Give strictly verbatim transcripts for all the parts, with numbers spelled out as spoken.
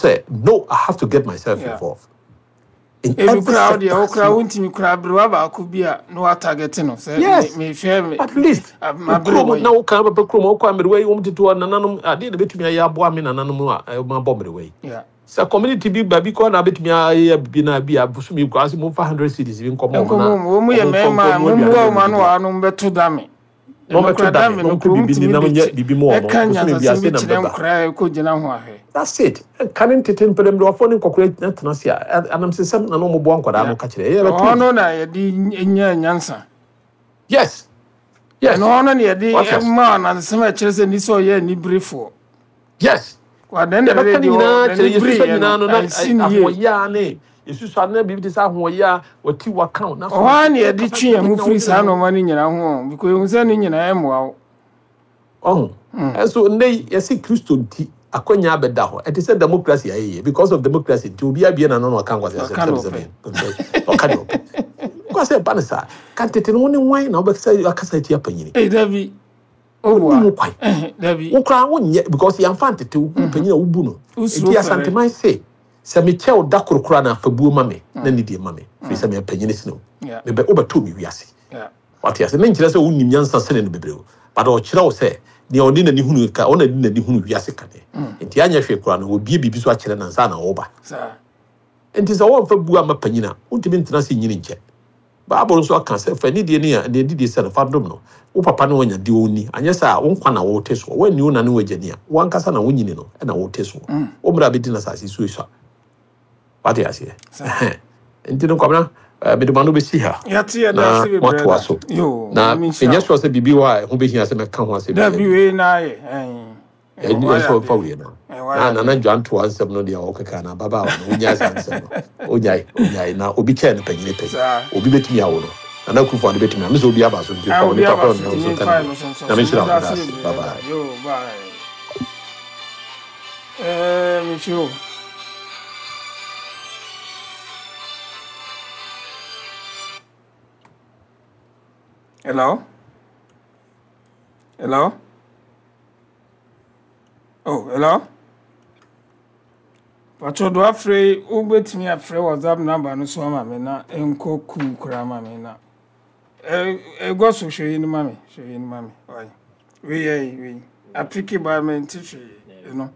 sɛ no, I have to get myself Yeah. involved in Ebi every koraa wo deɛ sector. wo koraa wontumi koraa aberewa baako bi a na watarget no sɛ Yes. me- mehwɛ me At least maberewa kurom yi. na woka bɛpɛ kurom, wokɔ mmerewa yi, wɔm tete hɔ, nananom adeɛ na bɛtumi ayɛ aboa me nananom a ɛma bɔ mmerewa yi. Yeah. Sɛ community bi baabi kɔ na bɛtumi ayɛ bibi na bi a bosom yi kɔ ase, momfa hundred cedis bi nkɔmɔ ɔmo Nkɔmmɔ na mu wɔn mu yɛ ɔmo mfa mmarima nkɔ a noa aduane mommoa ma wɔn ano ɔmo wɔ ano mbɛto dame. na Ɛno ɔmbɛto koraa dame dame na no ɔmpɛ kuro biribi ni mutumi na de ɔnyɛ kye biribi ma ɔmo ɛka bosome bi nyansasɛm ase bi na kyerɛ mbɛba. nkoraa a ɛkɔ gyina ho ahwɛ. That's it. Ka ne ntete mpɛrɛmmerɛwafoɔ ne nkɔkora tena ase a, anamsesɛm na na ɔmoboa nkwadaa no Yeah. ka kyerɛ ɛyɛ bɛto Ɛhɔ adi. No na yɛde nya nyansa. Yes yes. Ɛno hɔ no na yɛde Wate ase? ma anansesɛm a ɛkyerɛ sɛ ni sɛ ɔyɛ aniberefoɔ. Yes. Wadan na Yɛbɛka ɛde ne deɛ nyinaa kyerɛ n'ani yɛsusua bereeɛ nyinaa no no na ansi ne yie. ahoɔyɛ a ne yɛsusua na biribi te sɛ ahoɔyɛ a wɔti waka na Ɔhɔ ara na yɛde kasa twe yɛn ho na firi wodwene saa ho. nneɛma no nyinaa ho o, because ehu sɛ ne nyinaa ɛmmoa wo. Ɔho ɛnso nnɛ yi yɛsi Kristo nti akɔnya abɛda hɔ. Ɛte sɛ democracy ayɛyɛ, because of democracy nti obi abie n'ano na ɔka nkwasi asɛm. Ɔka na sɛbi ɔpɛ. Sɛbi, ɔka deɛ ɔpɛ kɔ sɛ ɛba ne saa ka tete no, wo ne wan na wobɛsɛ akasa atia panyini? Ei, dabi. Wonni Ɔboa. ho kwan. Ɛhɛ, dabi. Wo koraa wonyɛ because yɛmfa ntete wo hu panyin a wobu no. Wosuro nti fɛrɛ. Asanteman se sɛ mekyɛ wo da koro koraa na afabuo ma me na nidie ma me, firi sɛ meyɛ panyini sene wo. Yeah. Mebɛ wobɛtoo me wiase. Yeah. Wate ase? Ne nkyerɛ sɛ wonim nyansa sene no bebree o, but ɔkyerɛ wo sɛ nea ɔde n'ani hunu ka, ɔna de n'ani hunu wiase kane nti anyɛ hwee koraa no, wɔbie biribi so akyerɛ nansa na wɔba. Saa. Nti sɛ wɔmfa bu ama panyin a, wontumi ntena ase nyini nkyɛ. Bible nso aka sɛ fa nidie ne a deɛ didie sɛ no fa dom no wo papa ne wanya deɛ ɔnni, anyɛ sɛ a wo nkwa na wote soɔ. Woanni wo na ne wagya ni a, wankasa na wonyini no ɛna wote soɔ, wo mmerɛ a bɛdi no asase so esua. Wate aseɛ? Saa. Ɛhɛn. Nti no, Kwamina, eh, mede ma no bɛsi ha Yɛate, yɛda na ase bebree moatoa da. so. Yo, Na Nyame nhyira ɛnyɛ wo. soɔ sɛ biribi wɔ a ɛho bɛhia sɛ mɛka ho asɛm. Dabi, wei na ayɛ. Ɛn. Ɛnyɛ Wayɛ sɛ ɔmfa adeɛ. wei no Ɛn, wayɛ na nana adeɛ. dwantoa nsɛm no deɛ ɔkeka na ababaawa no wonyae saa nsɛm no, ɔnyae, ɔnyae na obi kyɛɛ no panyini pɛn. Saa. Obi bɛtumi awo no, Nana Akufo Addo bɛtumi a mesɛ obi aba so nti Ah, fa obi onipa aba korɔ so no nti nso ka memfa ne no so nso na so. menhyira wo. Meda Meda ase ase. bebree Bye da. bye. Yo, bye. Eh, mekyerɛ wo. Hello? Hello? Oh, hello? Patro do afrɛ, wobɛtumi afrɛ WhatsApp number no so ama me na ɛnkɔ kuu koraa ma me na ɛgɔ so. Hwɛ yi no ma me, hwɛ yi no ma me. Ɔyɛ wei, yɛ wei apick ba me nte hwee ɛno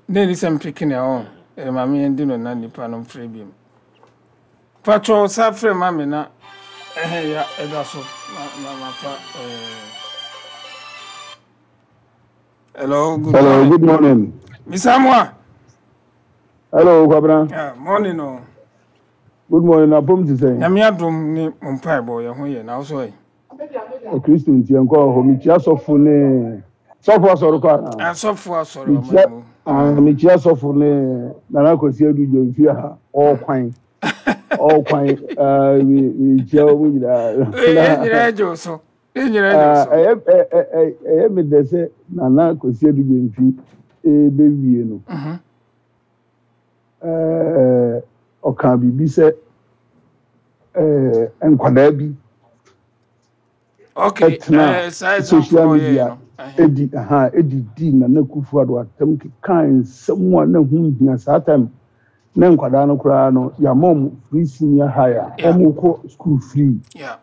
ne ni sɛ mpick ne ɛwɔ ɛyɛ ma me yɛndi no na nipa no mfrɛ bi mu. Patro sa frɛ ma me na ɛhɛ ya ɛda so ma ma ma fa ɛɛ. Hello, good Hello, morning. Good morning. Mister Moa. Hello, Kwabena. Yeah, morning o. Good morning. Na pom ti sɛn? Nyame adom ne mo mpaebɔ, yɛ ho yɛ na wo so ɛ? Kristo nti nkɔ hɔ. Mekyia sɔfo ne sɔfo asɔre kɔ ana? Asɔfo asɔre Mekyia ɔman mu. Ah, mekyia sɔfo ne Nana Kwasi Adu Gyamfi a ɔɔkwan. Ɔɔkwan. Ah, me mekyia wɔn nyinaa. Yɛn nyinaa gye wo so, yɛn nyinaa gye wo Ah, so. ɛyɛ ɛ- ɛ- ɛ- ɛyɛ me dɛ sɛ Nana Kwasi Adu Gyamfi ɛbɛwie no. Mhm. Ɛɛ, ɔka biribi sɛ ɛɛ nkwadaa bi okay ɛtena eh, saa example social na ɔyɛɛ media no. Ɛhɛ. edi aha edidi Nana Akufo Addo atam keka nsɛm a na ho nhia. Saa time na nkwadaa no koraa no, yɛama wɔn free senior high a Yeah. wɔn kɔ school free. Yeah.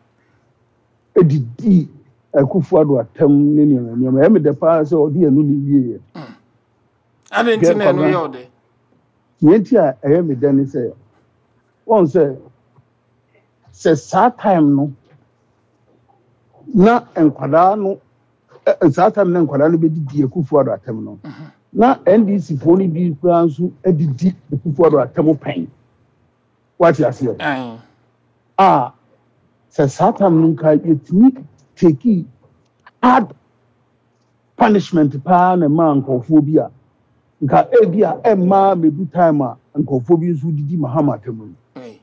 Edidi Akufo Addo atam ne nneɛma nneɛma. Ɛyɛ mi dɛ paa sɛ ɔde ɛno ne wie yɛ. Ade nti na ɛno Kwabena. yɛ ɔde? Nea nti a ɛyɛ mi dɛ ne sɛ wɔn sɛ sɛ saa time no na nkwadaa no ɛ ɛ, saa time na nkwadaa no bɛdidi Akufo Addo atam no, na N D C foɔ no bi koraa nso adidi Akufo Addo atam pɛn. Wate aseɛ? Ɛn. A sɛ saa time no nka yɛtumi take hard punishment paa na ɛmaa nkurɔfoɔ bi a, nka ebi a ɛmmaa medu time a nkurɔfoɔ bi nso didi Mahama atam no. Ei.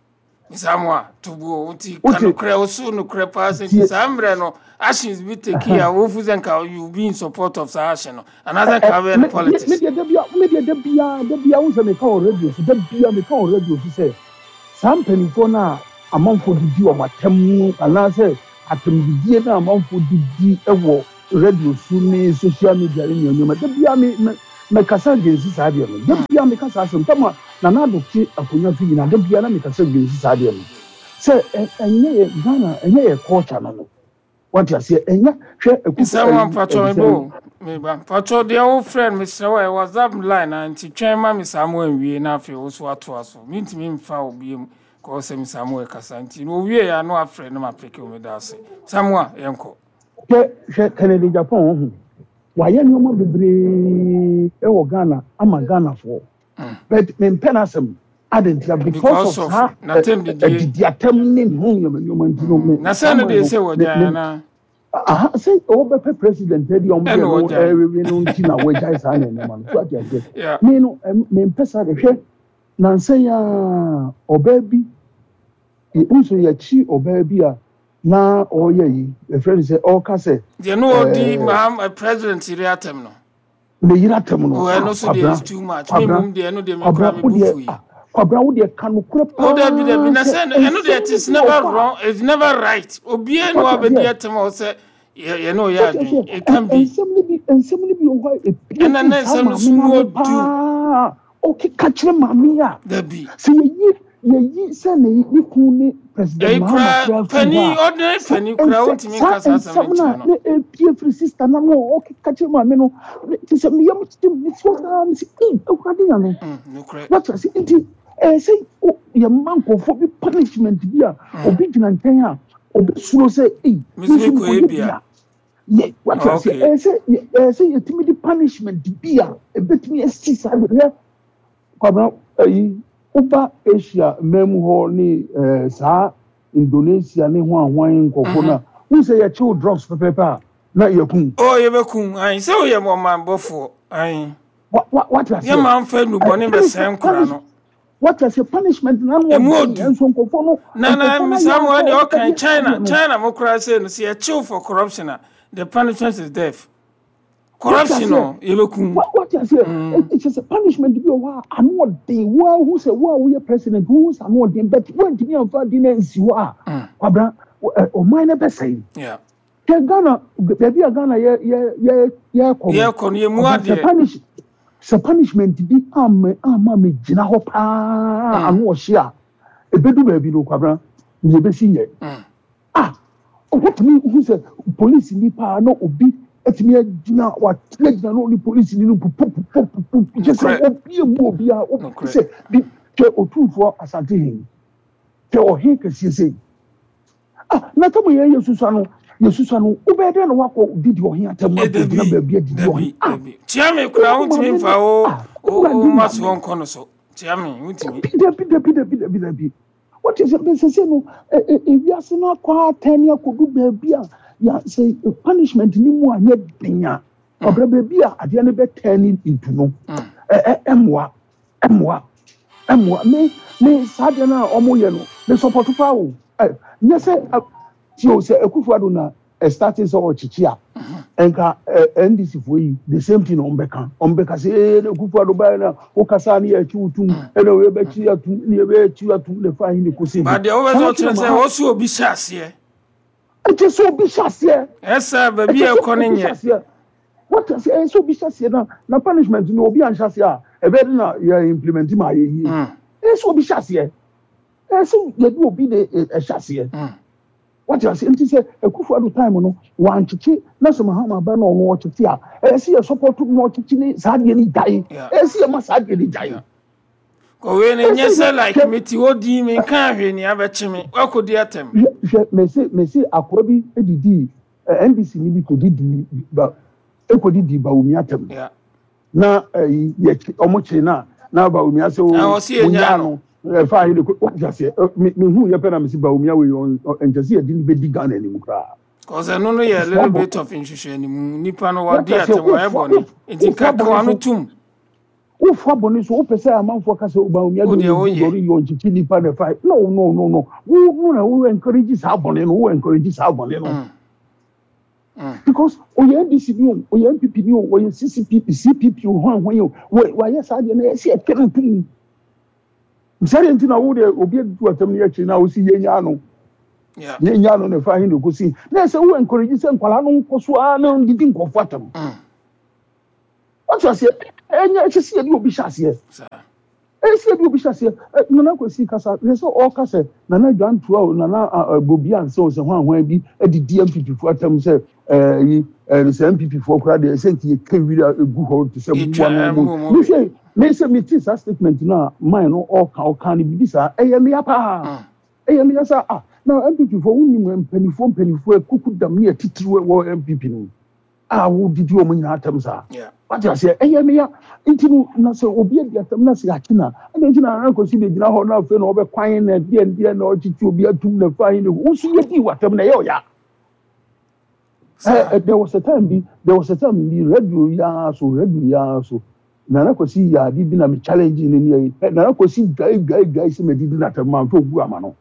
Mister Moa tobuo nti ka Wote- nokorɛ, woso nokorɛ paa sɛ nti Tie. saa mmerɛ no actions bi take a wofu sɛ nka you be in support of saa action no anaasɛ nka wobɛyɛ no politics? Medeɛ da bia, medeɛ da bia, da bia wo sɛ meka wɔ radio so, da bia meka wɔ radio so sɛ saa mpanimfoɔ no a amanfoɔ didi wɔn atam mu anaasɛ atamdidie no a amanfoɔ didi wɔ radio so ne social media ne nneɛma, da bia me me Mekasa against saa adeɛ no. Da bia meka saa asɛm tama Nana Addo te akonnwa so nyinaa, da bia na mekasa against saa adeɛ no sɛ ɛnyɛ yɛ Ghana, ɛnyɛ yɛ culture no no Wate aseɛ? Ɛnyɛ hwɛ Akufo Nsɛm ayi mpatwɔ ɛde me sɛ bo meba mpatwɔ deɛ wo frɛ no, mesrɛ wo, ɛyɛ WhatsApp line na nti twɛn ma me saa mo anwie na afei wo so atoa so. Mentumi mfa wo biom kɔɔ sɛ me Samuel kasa nti na owie ya no afrɛ no ma peke wo. Meda ase, Samuel, yɛnkɔ. Hwɛ, hwɛ, Kennedy Agyapong ho wayɛ nneɛma bebree ɛwɔ Ghana ama Ghanafoɔ, but mempɛ n'asɛm adentia because because of of saa n'atɛm didie. Adidi atɛm ne ne ho nneɛma nneɛma nti no me Na saa sɛ no man deɛ no sɛ me wɔgyae me anaa? Aha sɛ ɔbɛpɛ president adi ɔmo ɛna deɛ no wɔgyae. Ɛwewe no nti na wɔagyae saa nneɛma no so, ate aseɛ? Yeah. Me no ɛm- mempɛ saa de. Hwɛ, nansa yi a ɔbaa bi nso yɛkyi ɔbaa bi a na ɔreyɛ yi, yɛfrɛ no sɛ ɔreka sɛ Deɛ no ɔdi ɛɛ Maham eh, president yere atɛm no. Ne yere atɛm Oh, no. ɛno Ah, so deɛ Kwabena is too much. Me Kwabena mmom deɛ, ɛno deɛ me koraa Kwabena me wo bu deɛ fu yi. Ah, Kwabena, wo deɛ ka nokorɛ Oh, dabi dabi paa na sɛ sɛ ɛno deɛ nsɛm it no is bi wɔ never hɔ a wrong, it's never right. Obiara ne wate wabɛdi aseɛ atɛm a ɔsɛ yɛ yɛ ne ɔyɛ wate adwene, aseɛ it can be. Nsɛm no bi nsɛm no bi wɔ hɔ a epie Ɛna firi na saa nsɛm no maame so no mu ano odu. paa ɔkeka kyerɛ maame yi a Dabi. Sɛ yɛyi yɛyi sɛ ne ne kun ne President Ɛyi Mahama koraa koraa firi hɔ panin a ordinary sa panin koraa nsɛ wontumi saa nka saa asɛm no nsɛm no nkyerɛ a no. Na epie firi sister no ano a ɔkeka kyerɛ maame no te sɛ meyam kyerɛ me si hɔ saa, me si ee, Awurade Nyame. Mm, nokorɛ. Wate ase? Nti ɛyɛ sɛ o- yɛma nkurɔfoɔ bi punishment bi a obi gyina nkyɛn a obi suro sɛ ei me me nso nso mekɔyɛ mekɔyɛ bi bi a a yɛ, wate ase? Okay. ɛyɛ sɛ yɛ- ɛyɛ sɛ yɛtumi de punishment bi a ebɛtumi asi saa de. Hwɛ, Kwabena, ayi woba Asia mmaa mu hɔ ne ɛɛ saa Indonesia ne ho ahwan nkɔfoɔ no a wohu sɛ yɛkyew drugs pɛpɛɛpɛ a na yɛkum. Oh, yɛbɛkum ayi sɛ woyɛ ɔmanbɔfoɔ ayi. Wa wa wate aseɛ? Yɛma mfa nnubɔne bɛsɛe nkora no. Wate aseɛ? Punishment na no Emu ɔden odu. nso nkɔfoɔ no na na nkɔfoɔ no ayɛ Samuel asɛ deɛ ɔbɛka ɔkan deɛ China adeɛ no. China mo koraa sɛ no sɛ yɛkyew for corruption a, the punishment is death. Wate Corruption aseɛ? no yɛbɛkum. Wa- wate aseɛ? Ɛkyɛ sɛ punishment bi wɔ hɔ a ano ɔden. Wo a wohu sɛ wo a woyɛ president, wohu sɛ ano ɔden, but woantumi amfa adi no ansi hɔ a, Kwabena, wo- ɛ, ɔman no bɛsɛe. Yeah. Hwɛ Ghana, baabi a Ghana yɛ yɛ yɛ yɛkɔ no. Yɛkɔ no yɛmu Kwabena, sɛ adeɛ. punish sɛ punishment bi ama ama me gyina hɔ paa ano ɔhye a ebedu baabi no, Kwabena, nea ebesi nyɛ. Mm. Ah, wotumi hu sɛ polisi ni paa na obi etumi agyina, watena gyina na ɔne polisi ni no pupupupupu kyɛ sɛ Nokorɛ. obi emu obi a obi Nokorɛ. sɛ bi. Hwɛ Otumfoɔ Asante hen, hwɛ ɔhen kɛseɛ sɛ ah, na tamu yɛn yɛ susua no, yɛ susua no, wobɛyɛ dɛ na wakɔ didi ɔhen atam Eh, akɔgyina dabi baabi adidi ɔhen dabi ah. Dabi, tia me koraa wo wontumi maame mfa no wo ah wo Awurade wo ma Nyame. soɔ nkɔ no so, tia me wontumi. Dabi dabi dabi dabi dabi, wɔte sɛ bɛsɛ no ɛ ɛ ewiase no akɔ atɛn ne akɔdu baabi a ya sɛ punishment ni mu anyɛ den a, ɔbrɛ baabi a adeɛ no bɛtɛn ne into no ɛ ɛ ɛmoa ɛmoa ɛmoa me me saa adeɛ no a ɔmo yɛ no, me support paa o. Ɛ nyɛ sɛ ɛ tie o, sɛ Akufo Addo na ɛstart sɛ ɔkyekye a, nka ɛ N D C foɔ yi the same thing na ɔmo bɛka ɔmo bɛka sɛ ee, na Akufo Addo báyìí na wokasa ne yɛ akyi wotum ɛna oyɛ bɛkyi atum ne yɛ bɛ akyi atum ne fa ayi ne kosi Ba deɛ wobɛ sɛ saa ɔkyerɛ na sɛ ma wɔ so obi hyɛ aseɛ. Ɛkyɛ sɛ obi hyɛ aseɛ. Ɛsɛ baabi ɛkyɛ a sɛ ɛkɔ no obi hyɛ nyɛ. Aseɛ wɔte aseɛ? Ɛyɛ sɛ obi hyɛ aseɛ na na punishment no obi anhyɛ aseɛ a, ɛbɛyɛ de na yɛ implement ma ayɛ yie. Mm, ɛyɛ sɛ obi hyɛ aseɛ, ɛyɛ sɛ yɛde obi de ɛ- ɛhyɛ aseɛ. mm. Wɔte aseɛ? Nti sɛ Akufo Addo time no wankyekye na sɛ Mahama ba na ɔno ɔkyekye a, ɛyɛ sɛ yɛ support na ɔkyekye ne saa adeɛ no gyae. Yeah. Ɛyɛ sɛ yɛma saa adeɛ no gyae. Yeah. Kɔwei no ɛyɛ nyɛ sɛ sɛ yɛ like hwɛ mete hɔ din menka hwee nea bɛkye me woakɔdi atɛm. Hwɛ hwɛ, mese mese akoa bi edidi ɛ N D C ni bi kɔdidi ba ekɔdidi Bawumia atɛm Yeah. na ɛyi yɛ ɔmo kye na na Bawumia sɛ Na o ɔse yɛnyaa mo nyaa no. No ɛfa ayi de ko wate aseɛ? Ɛ, me me hu yɛ pɛ na mese Bawumia wei ɔn nkyɛ sɛ yɛde no bɛdi Ghana anim koraa. Cause ɛno no yɛ a Wofoa little bɔ bit of nhwehwɛnimu, nipa no wate wadi aseɛ? atɛm, wayɛ Wofoa bɔne nti wofoa nka bɔne kawa no so tum. Wofoa bɔne so, wopɛ sɛ amanfoɔ ka sɛ Bawumia Wo de deɛ ɔyɛ woyɛ. dɔre yɛ ɔnkyekye nipa na ɛfa. No, no, no, no, wo wo na wo encourage saa bɔne no, wo encourage saa bɔne no. Mm, mm. Because ɔyɛ N D C ni o, ɔyɛ N P P ni o, ɔyɛ C C P, C P P o, hwan hwan o, wɔ wayɛ saa deɛ na yɛsi ɛtɛ no tum sɛdeɛ nti na wo deɛ obi adu atam no yɛkyerɛ na wosi yɛnya no. Yeah. Yɛnya no na ɛfa ahe na ɛkɔsi na ɛsɛ wo encourage sɛ nkwalaa no nkɔ so ara na ndidi nkɔfo atam. Mm. Wate Wate aseɛ? Ɛnyɛ ɛkyɛ sɛ yɛde obi hyɛ aseɛ. Ɛyɛ sɛ yɛde obi hyɛ aseɛ. Nana Kwasi kasa hwɛ sɛ ɔreka sɛ Nana Dwantoa o, Nana Bobi Ansah o, sɛ hwan hwan bi adidi N P P foɔ atam sɛ ɛyi sɛ N P P foɔ koraa deɛ, sɛ nti yɛtwa wira egu hɔ te sɛ mmoa no mu. Me sɛ me sɛ mete saa statement no a, man no ɔka ɔka no biribi saa, ɛyɛ meya paa, ɛyɛ meya saa. Ah, na N P P foɔ, wonim mpanimfoɔ mpanimfoɔ kuku dam ne atitiriw wɔ N P P no mu a wodidi wɔn nyinaa atam saa. Wate aseɛ? Ɛyɛ meya. Nti no na sɛ obi adi atam na sɛ akyi na ɛna nti na Nana Kwasi de gyina hɔ na afei na ɔbɛkwan na deɛ deɛ na ɔkyekye obi atum na fa yi ne wo nso yɛdi w'atam na ɛyɛ ɔya. Ɛ there was a time bi there was a time bi, radio yi ara so radio yi ara so Nana Kwasi yɛ ade bi na me challenge ne ne yɛ Nana Kwasi dwae dwae dwae sɛ mɛ didi n'atam ma nfa ogu ama no.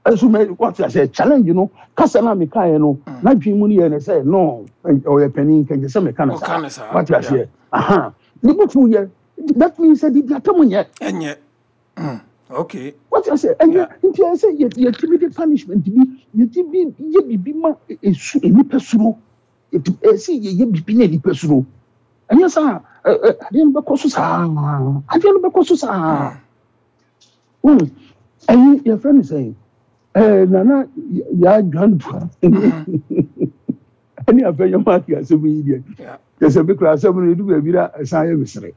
Ɛnso mɛ, wate aseɛ, challenge no kasa na meka yɛ no, n'adwene mu no yɛ ne sɛ no ɔyɛ panin nkɛnkyɛ sɛ meka no saa. Wate aseɛ? Aha ne bufu yɛ, that means sɛ didi atam nyɛ. Ɛnyɛ okay. Wate aseɛ? Ɛnyɛ. Nti ɛyɛ sɛ yɛtumi de punishment bi, yɛtumi yɛ biribi ma esu nipa suro. Ɛyɛ sɛ yɛyɛ biribi na nipa suro. Ɛnyɛ saa, adeɛ no bɛkɔ so saa, adeɛ no bɛkɔ so saa. Ɛyi yɛfrɛ no sɛn, ɛɛ Nana Yaa Dwantoa ɛne afɛnyɛ maaki asɛm yi deɛ, kyɛ bi kura asɛm no edu baabi na ɛsan yɛ mesere.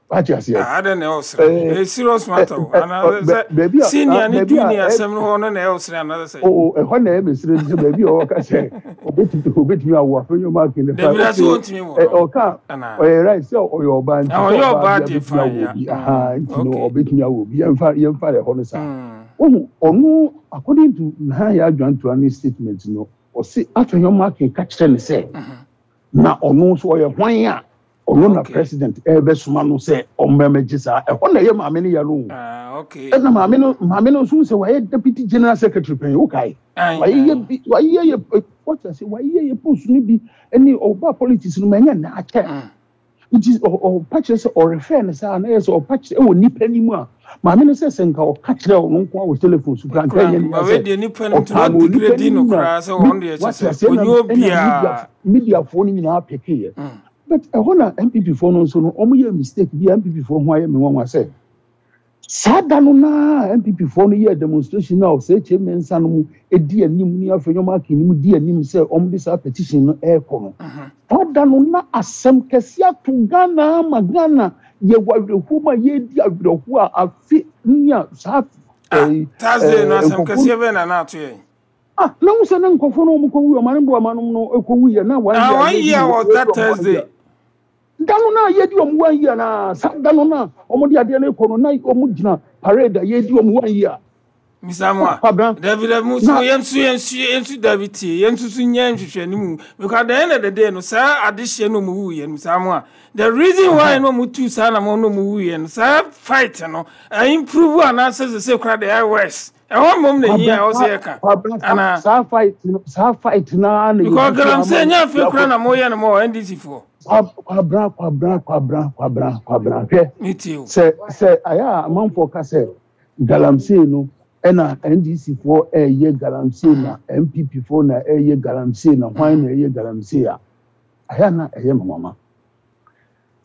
Wate aseɛ? Adɛ na ɛwɔ sere, ɛyɛ serious matter o, anaasɛ senior ne junior asɛm no hɔ no na ɛwɔ sere anaasɛ sɛ? O, ɛhɔ na ɛyɛ mesere sɛ baabi a ɔka sɛ obetumi obetumi awo afɛnyɛ maaki ne fa. Dabi ase wɔntumi wɔ. Ɔka ɔyɛ right sɛ ɔyɛ ɔbaa, nti ɔyɛ ɔbaa deɛ obetumi awo bi aha, nti no ɔbetumi awo bi. Yɛmfa yɛmfa ɛhɔ no saa. Wohu, ɔno according to Nana Yaa Dwantoa ne statement no, ɔsi afɛnyɛ maaki ka kyerɛ ne sɛ na ɔno nso ɔyɛ hwan a ɔno na president ɛbɛsoma no sɛ ɔmmɛmɛgye saa. Ɛhɔ na ɛyɛ maame no yɛ no. Ɛna maame no maame no nso sɛ wayɛ deputy general secretary pɛn, wokae, wayɛ bi, wayɛ yɛ, wɔte ase, wayɛ yɛ post no bi ɛne ɔba politics no ma ɛnyɛ na akyɛ. Nti ɔpa kyerɛ sɛ ɔrefɛ no saa na yɛ sɛ ɔpa kyerɛ ɛwɔ nipa nim a maame no sɛ sɛ nka ɔka kyerɛ ɔno nko a wɔ telephone so kora, nka ɛnyɛ ne sɛ ɔka no wɔ nipa nim na wate aseɛ, na mediafoɔ no nyinaa pɛkeyɛ. But ɛhɔ na N P P foɔ no nso no, wɔn yɛ mistake bi a N P P foɔ ho ayɛ me nwanwa sɛ saa da no naa N P P foɔ no yɛ demonstration na ɔsɛ kyɛ mmiɛnsa no mu edi anim ne afei wɔn aka anim di anim sɛ wɔn de saa petition no ɛrekɔ no. Saa da no na asɛm kɛse ato Ghana ama Ghana yɛ wɔ awerɛhoɔ mu a yɛredi awerɛhoɔ a afe nya saa. Ɛɛ Thursday no, asɛm kɛseɛ bɛn na na ato yɛn? Ah, na wo sɛ ne nkɔfoɔ no wɔn kɔ wu, ɔman bo ama no kɔ wu yɛ na one year. Ah, one year was that Thursday. Da no na yɛdi wɔn one year, na saa da no na wɔn de adeɛ no kɔ no na wɔn gyina parade a yɛdi wɔn one year. Misamua, dabi dabi, mu so yɛn nso yɛn nso yɛn nso, dabi, tie, yɛn nso so nyɛ nhwehwɛ ne mu, because at the end of the day no, saa adehyɛ no mu wu yɛn Misamua, the reason why no mu tu saa na mo no mu wu yɛn saa fight no ɛ improve anaasɛ sɛ sɛ kora de ɛ worse, ɛhɔ mmom na hia ɛwɔ sɛ yɛka ana? Saa fight no, saa fight naa na. Because galamsey nyɛ afei kora na mo yɛ no mo N D C foɔ. Kwabra, Kwabra, Kwabra, Kwabra, Kwabra, hwɛ. Ne tie o. Sɛ sɛ ayɛ a amanfoɔ ka sɛ galamsey no ɛna N D C foɔ ɛyɛ galamsey na N P P foɔ na ɛyɛ galamsey na hwan na ɛyɛ galamsey a, ayɛ na ɛyɛ mama.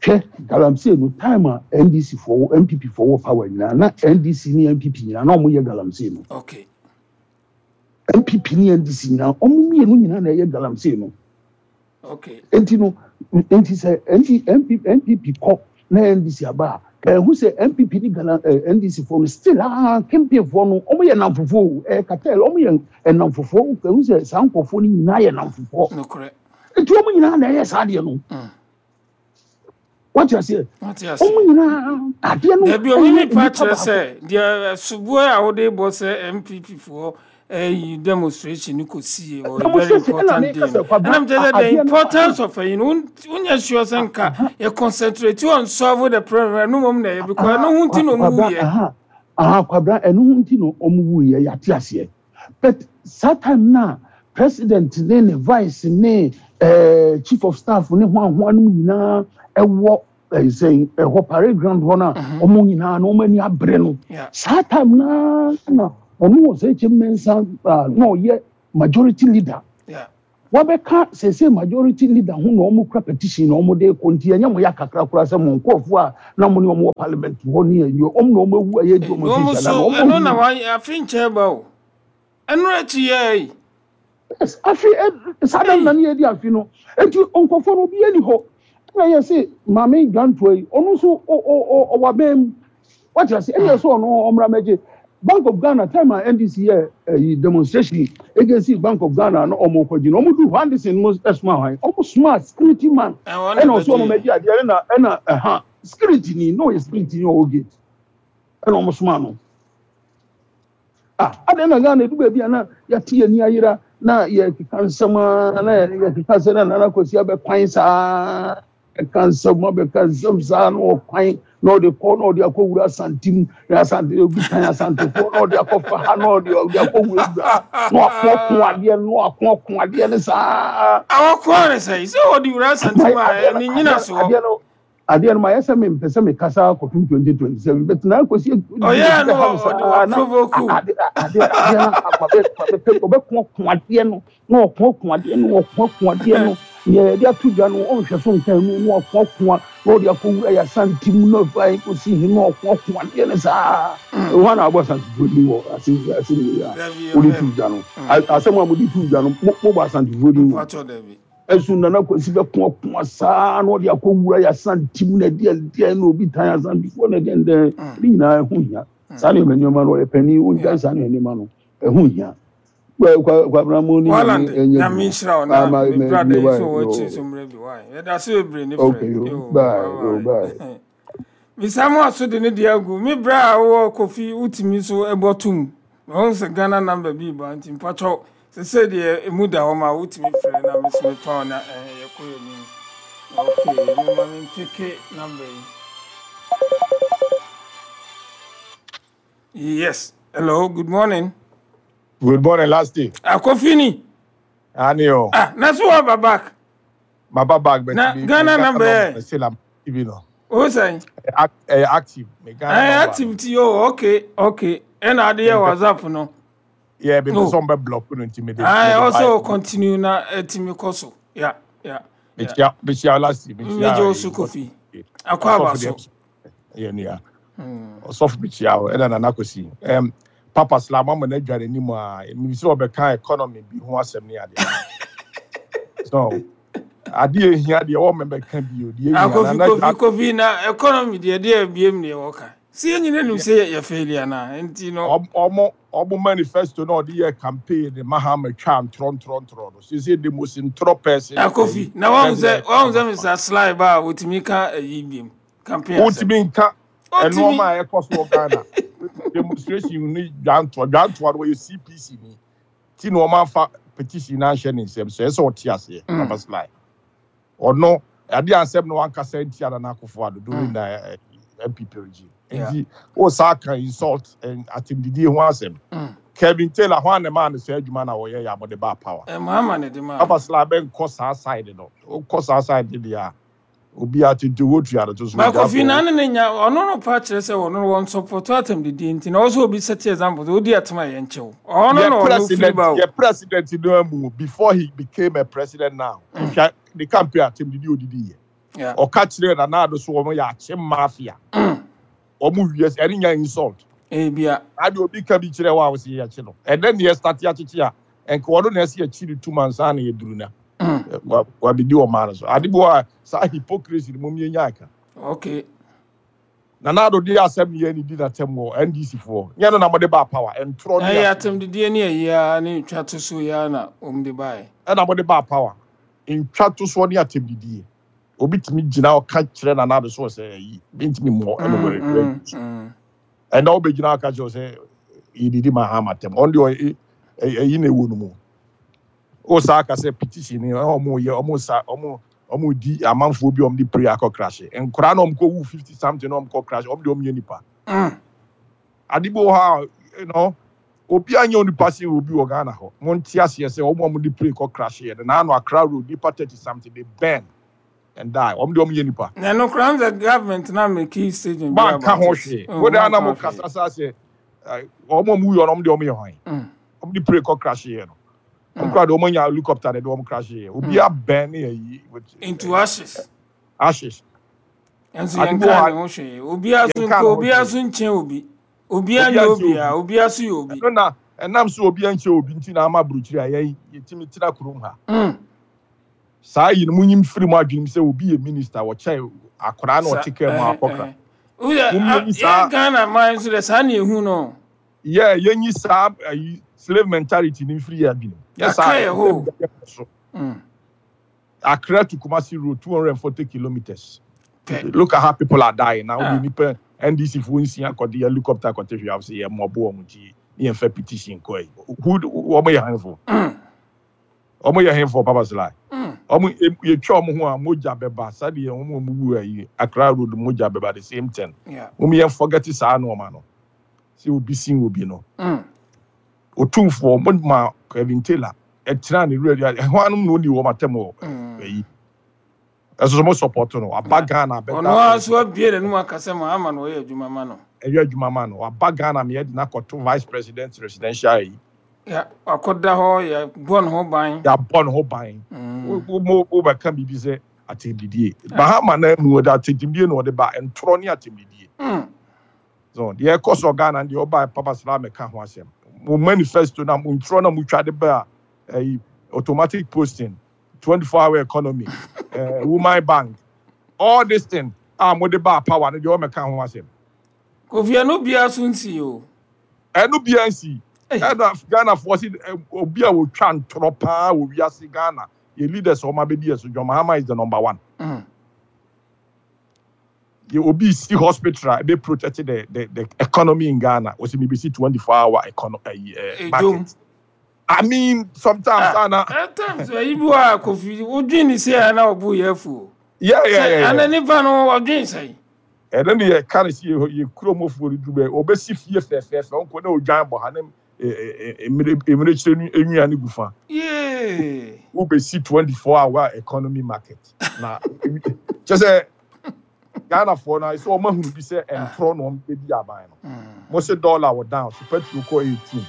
Hwɛ, galamsey no, time a N D C foɔ, N P P foɔ wɔ power nyinaa na N D C ne N P P nyinaa na wɔn yɛ galamsey no. Okay N P P ne N D C nyinaa, wɔn mmienu nyinaa na ɛyɛ galamsey no. Okay nti no, nti sɛ N D N P N P P kɔ na N D C aba a, ɛho sɛ N P P ne Ghana ɛ N D C foɔ no still aa campaign foɔ no, wɔn yɛ namfofoɔ o, ɛyɛ cartel, wɔn yɛ ɛnamfofoɔ. Ɛho sɛ saa nkurɔfoɔ no nyinaa yɛ namfofoɔ. Nokorɛ. Nti wɔn nyinaa na ɛyɛ saa adeɛ no. Wate aseɛ? Wate aseɛ. Wɔn nyinaa adeɛ no. Dabi, omi mi pa nipa kyerɛ baako. Sɛ deɛ soboɔ a wode bɔ sɛ N P P foɔ ɛyi demonstration no kɔ sie wɔ very Demonstration, ɛna important meka day sɛ, no. Kwabena, Ɛna mkyerɛ sɛ the adeɛ no- importance of ɛyi no, wonyɛ sure sɛ nka yɛ concentrate on solve the problem, ɛno mmom na ɛyɛ, because ɛno ho nti na ɔmu Kwabena, wuyɛ. Aha aha, Kwabena, ɛno ho nti na ɔmo wuyɛ, yate aseɛ. But saa time na president ne ne vice ne ɛɛ chief of staff ne ho ahoa no nyinaa ɛwɔ ɛɛ sɛn ɛhɔ parade ground hɔ na ɔmo nyinaa na ɔmo ani abere no. Yeah. Saa time naa na ɔno wɔ sɛ ɛkyɛ mmensa a na ɔyɛ majority leader. Yeah. Wabɛka sese majority leader ho na ɔmo kura petition na ɔmo de kɔ, nti ɛnyɛ mo ya kakra koraa sɛ mo nkɔɔfoɔ a na mo ne ɔmo wɔ parliament hɔ ne ɛnyɛ ɔmo na ɔmo awu a yɛdi ɔmo na ɔmo fi so nhyɛ da na ɔmo ɛno na awu. wayɛ afe nkyɛn ba o, ɛno akyi yɛ yi. Yes, afi ɛ saa dam na ne yɛdi afi no, eti nkɔfoɔ no obi ani hɔ, ɛna yɛ sɛ Maame Dwantoa yi, ɔno nso ɔ ɔ ɔ ɔwɔ abɛn mu, wate ase, ɛna yɛ sɛ ɔno ɔmmra mɛgye Bank of Ghana. Time a N D C yɛ ɛyi demonstration against Bank of Ghana na ɔmo kɔ gyina, ɔmo du hɔ, Anderson mo ɛsoma hwan? Ɔmo soma security man. Ɛwɔ na ɛna ɔso ɔmo bɛgye. Mɛgye adeɛ, ɛna ɛna ɛha security ni na ɔyɛ security ni ɔwɔ gate, ɛna ɔmo soma no. Ah, adeɛ na Ghana edu baabi a na yɛte yɛn ni ayera na yɛkeka nsɛm a na yɛkeka sɛ na Nana Kwasi abɛkwan saa, ɛka nsɛm abɛka nsɛm saa na ɔkwan na ɔde kɔ na ɔde akɔ wura Asantem na Asante obi kan Asantefoɔ na ɔde akɔfa ha na ɔde ɔde akɔ wura wura na wakɔko adeɛ no, na wakɔko adeɛ no saa. Awɔkoa ne sɛ sɛ wɔde wura Asantem Ma a adeɛ no ɛne adeɛ nyina no soɔ. Adeɛ no adeɛ no ma yɛ sɛ mempɛ sɛ mekasa kɔpem twenty twenty-seven, but na Kwasi ɔyɛɛ no bɛha me ɔde saa na waprovoke. ade adeɛ adeɛ no mabɛ ɔbɛko adeɛ no na ɔko adeɛ no, ɔko adeɛ no nea yɛde ato dwa no, ɔnhwɛ so nkan mu na ɔko na ɔde akɔwura yɛ Asantem na ɔfa kɔsi hi na ɔko adeɛ no saa. Ɛhɔ na abɔ Asantefoɔ din wɔ ase ase wei a Dabi. wode Ɔbɛ to dwa no. A- asɛm a mode to dwa no, mo- mobɔ Asantefoɔ din wɔ Mpatwɔ, dabi. Ɛso Nana Kwasi bɛko ɔko saa na ɔde akɔwura yɛ Asantem na ɛdeɛ deɛ na obi tan Asantefoɔ na ɛdeɛ deɛ ne nyinaa ɛho hia saa nneɛma nneɛma no. Ɔyɛ panin, ɔngyae saa nneɛma nneɛma no, ɛho hia. Kwabena mu ne Walande. Nyame ɛnyɛ Nyame adwuma. nhyira wo na Ama me me brother me yi wa so wɔ akyiri yo. so mmerɛ bi wae, yɛda so bebree ne frɛ. Okay, yo. Yo. Bye. Bye. Yo, bye. Bye. Misa mu aso de ne deɛ agu me brɛ a wowɔ Kofi, wotumi so ɛbɔ tom mahu sɛ Ghana number bi ba, nti mpakyɛw sɛ sɛ deɛ ɛmu da hɔ ma wotumi frɛ na me so mefa wo na ɛɛ, yɛkɔ yɛ anim. Okay, mema mempeke number yi. Yes, hello, good morning. Good morning, last day. Akofi ni. Anio. Ah, na so waba back? Maba back, but Na me, me Ghana Ghana number number ɛ still I'm you know. O sɛn? Act, uh, active. Me Ghana Ɛyɛ number. activity o. okay okay ɛna ade Me yɛ WhatsApp no? Yeah, me Oh. some be block no nti me de me I de also buy. continue na ɛtumi kɔ so. Yeah, yeah, Me yeah. chia me chia last me Mmegye chia. wo so, Kofi. Akɔ aba Osofo de so. yeah nia. Osofo me chia o ɛna Nana Kwasi. Um Papa Slam ama na adwa n'anim a me sɛ ɔbɛka economy bi ho asɛm ne ade. So ade ehia deɛ wɔ mɛbɛka bi o deɛ Ah, ehia Kofi, na Kofi, na Kofi, na economy deɛ deɛ biem deɛ wɔka. Si yɛn nyinaa nim sɛ yɛ fail ana nti no. ɔmo ɔmo manifesto na ɔde yɛ campaign de Mahama twa ntorɔ ntorɔ ntorɔ no sisi the most ntorɔ person. Ah, Kofi, na wɔn sɛ wɔn sɛ Mister Sly ba a wotumi ka ɛyi biem campaign asɛm. Wotumi nka Wotumi. ɛnneɛma a ɛkɔ so wɔ Ghana demonstration ne dwantoa dwantoa no, wɔyɛ C P C ni ti na ɔmo afa petition na ahyɛ ne nsam so ɛsɛ ɔte aseɛ. Papa Sly ɔno ade asɛm na wankasa ntia Nana Akufo Addo during the uh, N P P regime. Yeah. Nti o saa kan insult and atemdidie ho asɛm. Mm. Kevin Taylor ho anema ne sɛ adwuma na wɔyɛ yɛ abɔde ba power. Ɛ Mahama ne de maa Papa no. Sly bɛnkɔ saa side no, wokɔ saa side no deɛ a obi atete wotua no to so. Ba ogya Kofi bɔ. Na ne ne nya ɔno no pa kyerɛ sɛ ɔno no wɔn support atam didi nti na ɔsɛ obi set example sɛ odi atam a yɛn kyɛw. Ɔno Yɛ na ɔno firi president ba o. Yɛ president no amu before he became a president now, hwɛ ne campaign atemdidi odidi yɛ. Yeah. Ɔka kyerɛ Nana Addo so wɔn yɛ akyem mafia, wɔn wie ɛne nya insult. Ebia. Ade obi ka bi kyerɛ wɔ a wɔsi yɛ akyi no, ɛnɛ ne yɛ start akyekye a nka wɔn na ɛsɛ yɛkyi ne tum ansa na yɛduru na wa wabɛdi ɔman no so. Ade bi wɔ a saa hypocrisy no mo yɛ aka. Okay. Nana Addo de asɛm ne yɛ ne di n'atɛm wɔ N D C foɔ nyɛ no na mo de ba power ntorɔ ne Ɛyɛ asɛm. Atam didie ne ɛyi a ne twa to so ya na wɔn de baeɛ. Ɛna mo de ba power ntwa to soɔ ne atɛm didie, obi tumi gyina ɔka kyerɛ Nana Addo so sɛ ɛyi bi ntumi mmɔ ɛno Mm, wɔ mm, mm. ɛna wobɛgyina aka kyerɛ sɛ yɛdidi ma ha matɛm ɔno deɛ ɔyɛ ɛyi na ɛwɔ no mu o saa aka sɛ petition ni ɔmo yɛ ɔmo sa ɔmo ɔmo di amanfoɔ bi a ɔmo de pray akɔ crash nkɔraa na ɔmo kɔ wu fifty something na ɔmo kɔ crash, ɔmo deɛ ɔmo yɛ nipa. Mm. Ade bi wɔ hɔ a you know obi anya onipa se obi wɔ Ghana hɔ mo nte aseɛ sɛ ɔmo a ɔmo de pray kɔ crash yɛ no naano Accra road, nipa thirty something they burn and die, ɔmo deɛ ɔmo yɛ nipa. Na no koraa sɛ government na make statement bi Manka about ho it. hwee. Oh, Wode ana manka mo ho hwee. kasa sa sɛ ɔmo a ɔmo wu yɛ no, ɔmo deɛ ɔmo yɛ hwan? Mm. Ɔmo de pray kɔ crash yɛ no. Wɔn koraa de wɔn anya helicopter na ɛde wɔn crash yɛ. Obi abɛn ne ayi with Into ashes. Ashes. Nso Ade yɛn bi wɔ ka hɔ ne ho hwee. Obiara so Yɛnka ne nko ho obiara hwee. So nkyɛn obi. Obiara Obiara nyɛ nkyɛn obiara. Obiara so yɛ obi. Ɛno na ɛnam so obi nkyɛn obi nti na ama aburokyire a yɛn yɛtumi tena kurom ha. Mm. Saa yi no, munyim firi mu adwenem sɛ obi yɛ minister, wɔkyɛn akwaraa na Sa ɔte kaa mu ɛhɛ akɔkra. Ɛhɛ. Woyɛ Mummenyi yɛ saa Ghana man nso dɛ, saa na ehu no. Yɛ yɛnyi saa ayi slave mentality ni mfiri yɛ adwenem. Yɛ Yɛaka saa yɛ ɛsɛ hɔ. sɛ so. Mm. Accra to Kumasi road, two hundred forty kilometers. Pɛ. Look at how people are dying now. Ah. We nipa N D C fo nsia kɔde helicopter kɔte hwee sɛ yɛ mmɔbo wɔn ti ne yɛn fɛ petition kɔ yi. Who wɔn yɛ hanfo? Mm. Wɔn yɛ hanfo, Papa Sly? Mm. Wɔn yɛtwa wɔn ho a, mogya bɛba sɛdeɛ wɔn a wɔn wu ayi Accra road, mogya bɛba, the same thing. Yeah. Wɔn yɛn forget saa nneɛma no sɛ obi sin obi no. Mm. Otumfoɔ mo ma Kevin Taylor ɛtena ne wura ɛho anom na oni wɔn atam wɔ Mm. ɛyi ɛso so mo support no aba Yeah. Ghana abɛda. Ɔno ara so abie n'anum akasa ma ama na ɔyɛ adwuma ma no. Ɛyɛ adwuma ma no, waba Ghana ma yɛde n'akɔto vice president residential yi. Ya wakɔda hɔ, yɛ bɔ ne ho ban. Yɛabɔ ne ho ban. Mm. Wo wo wobɛka biribi sɛ atɛmdidie Mahama na mu wɔde atɛmdidie na ɔde ba, ntorɔ ne atɛmdidie. Mm. So deɛ ɛkɔ so Ghana deɛ, ɔba Papa Sala mɛka ho asɛm. Mo manifesto na mo ntorɔ na motwa de ba a, ɛyi automatic posting, twenty-four hour economy, uh, woman bank, all this thing a mode ba power no deɛ, ɔmɛka ho asɛm. Kofi, ɛno biara so nsi o. Ɛno bia nsi. Ei. Ɛna Ghanafoɔ si ɛ, obi a wɔtwa ntorɔ paa wɔ wiase, Ghana yɛ leaders a wɔn abɛdi yɛ so, John Mahama is the number one. Mm. Yɛ obi si hospital a ebe protect the the the economy in Ghana, wɔsi mi bi si twenty four hour economy ɛyi ɛ Edwom. market. I mean, sometimes Ah, ana at times ayi bi wɔ a, Kofi, wodwen ne se a na ɔbo yɛ afu o. yeah yeah Sɛ yeah ana yeah nipa no ɔdwen sɛn? Ɛno ne yɛ ka ne si yɛ yɛ kurom ofuo no duru bɛ obesi fie fɛfɛɛfɛ, ɔnkɔ na odwan bɔ ha ne emire emirekyire no enwia ne gu fa. Yee. Wobɛsi twenty four hour economy market na kyɛ sɛ Ghanafoɔ no sɛ ɔmo ahunu bi sɛ ntorɔ na ɔmo bɛdi aban no. Mm. Mo se dollar wɔ down so, petrol kɔ eighteen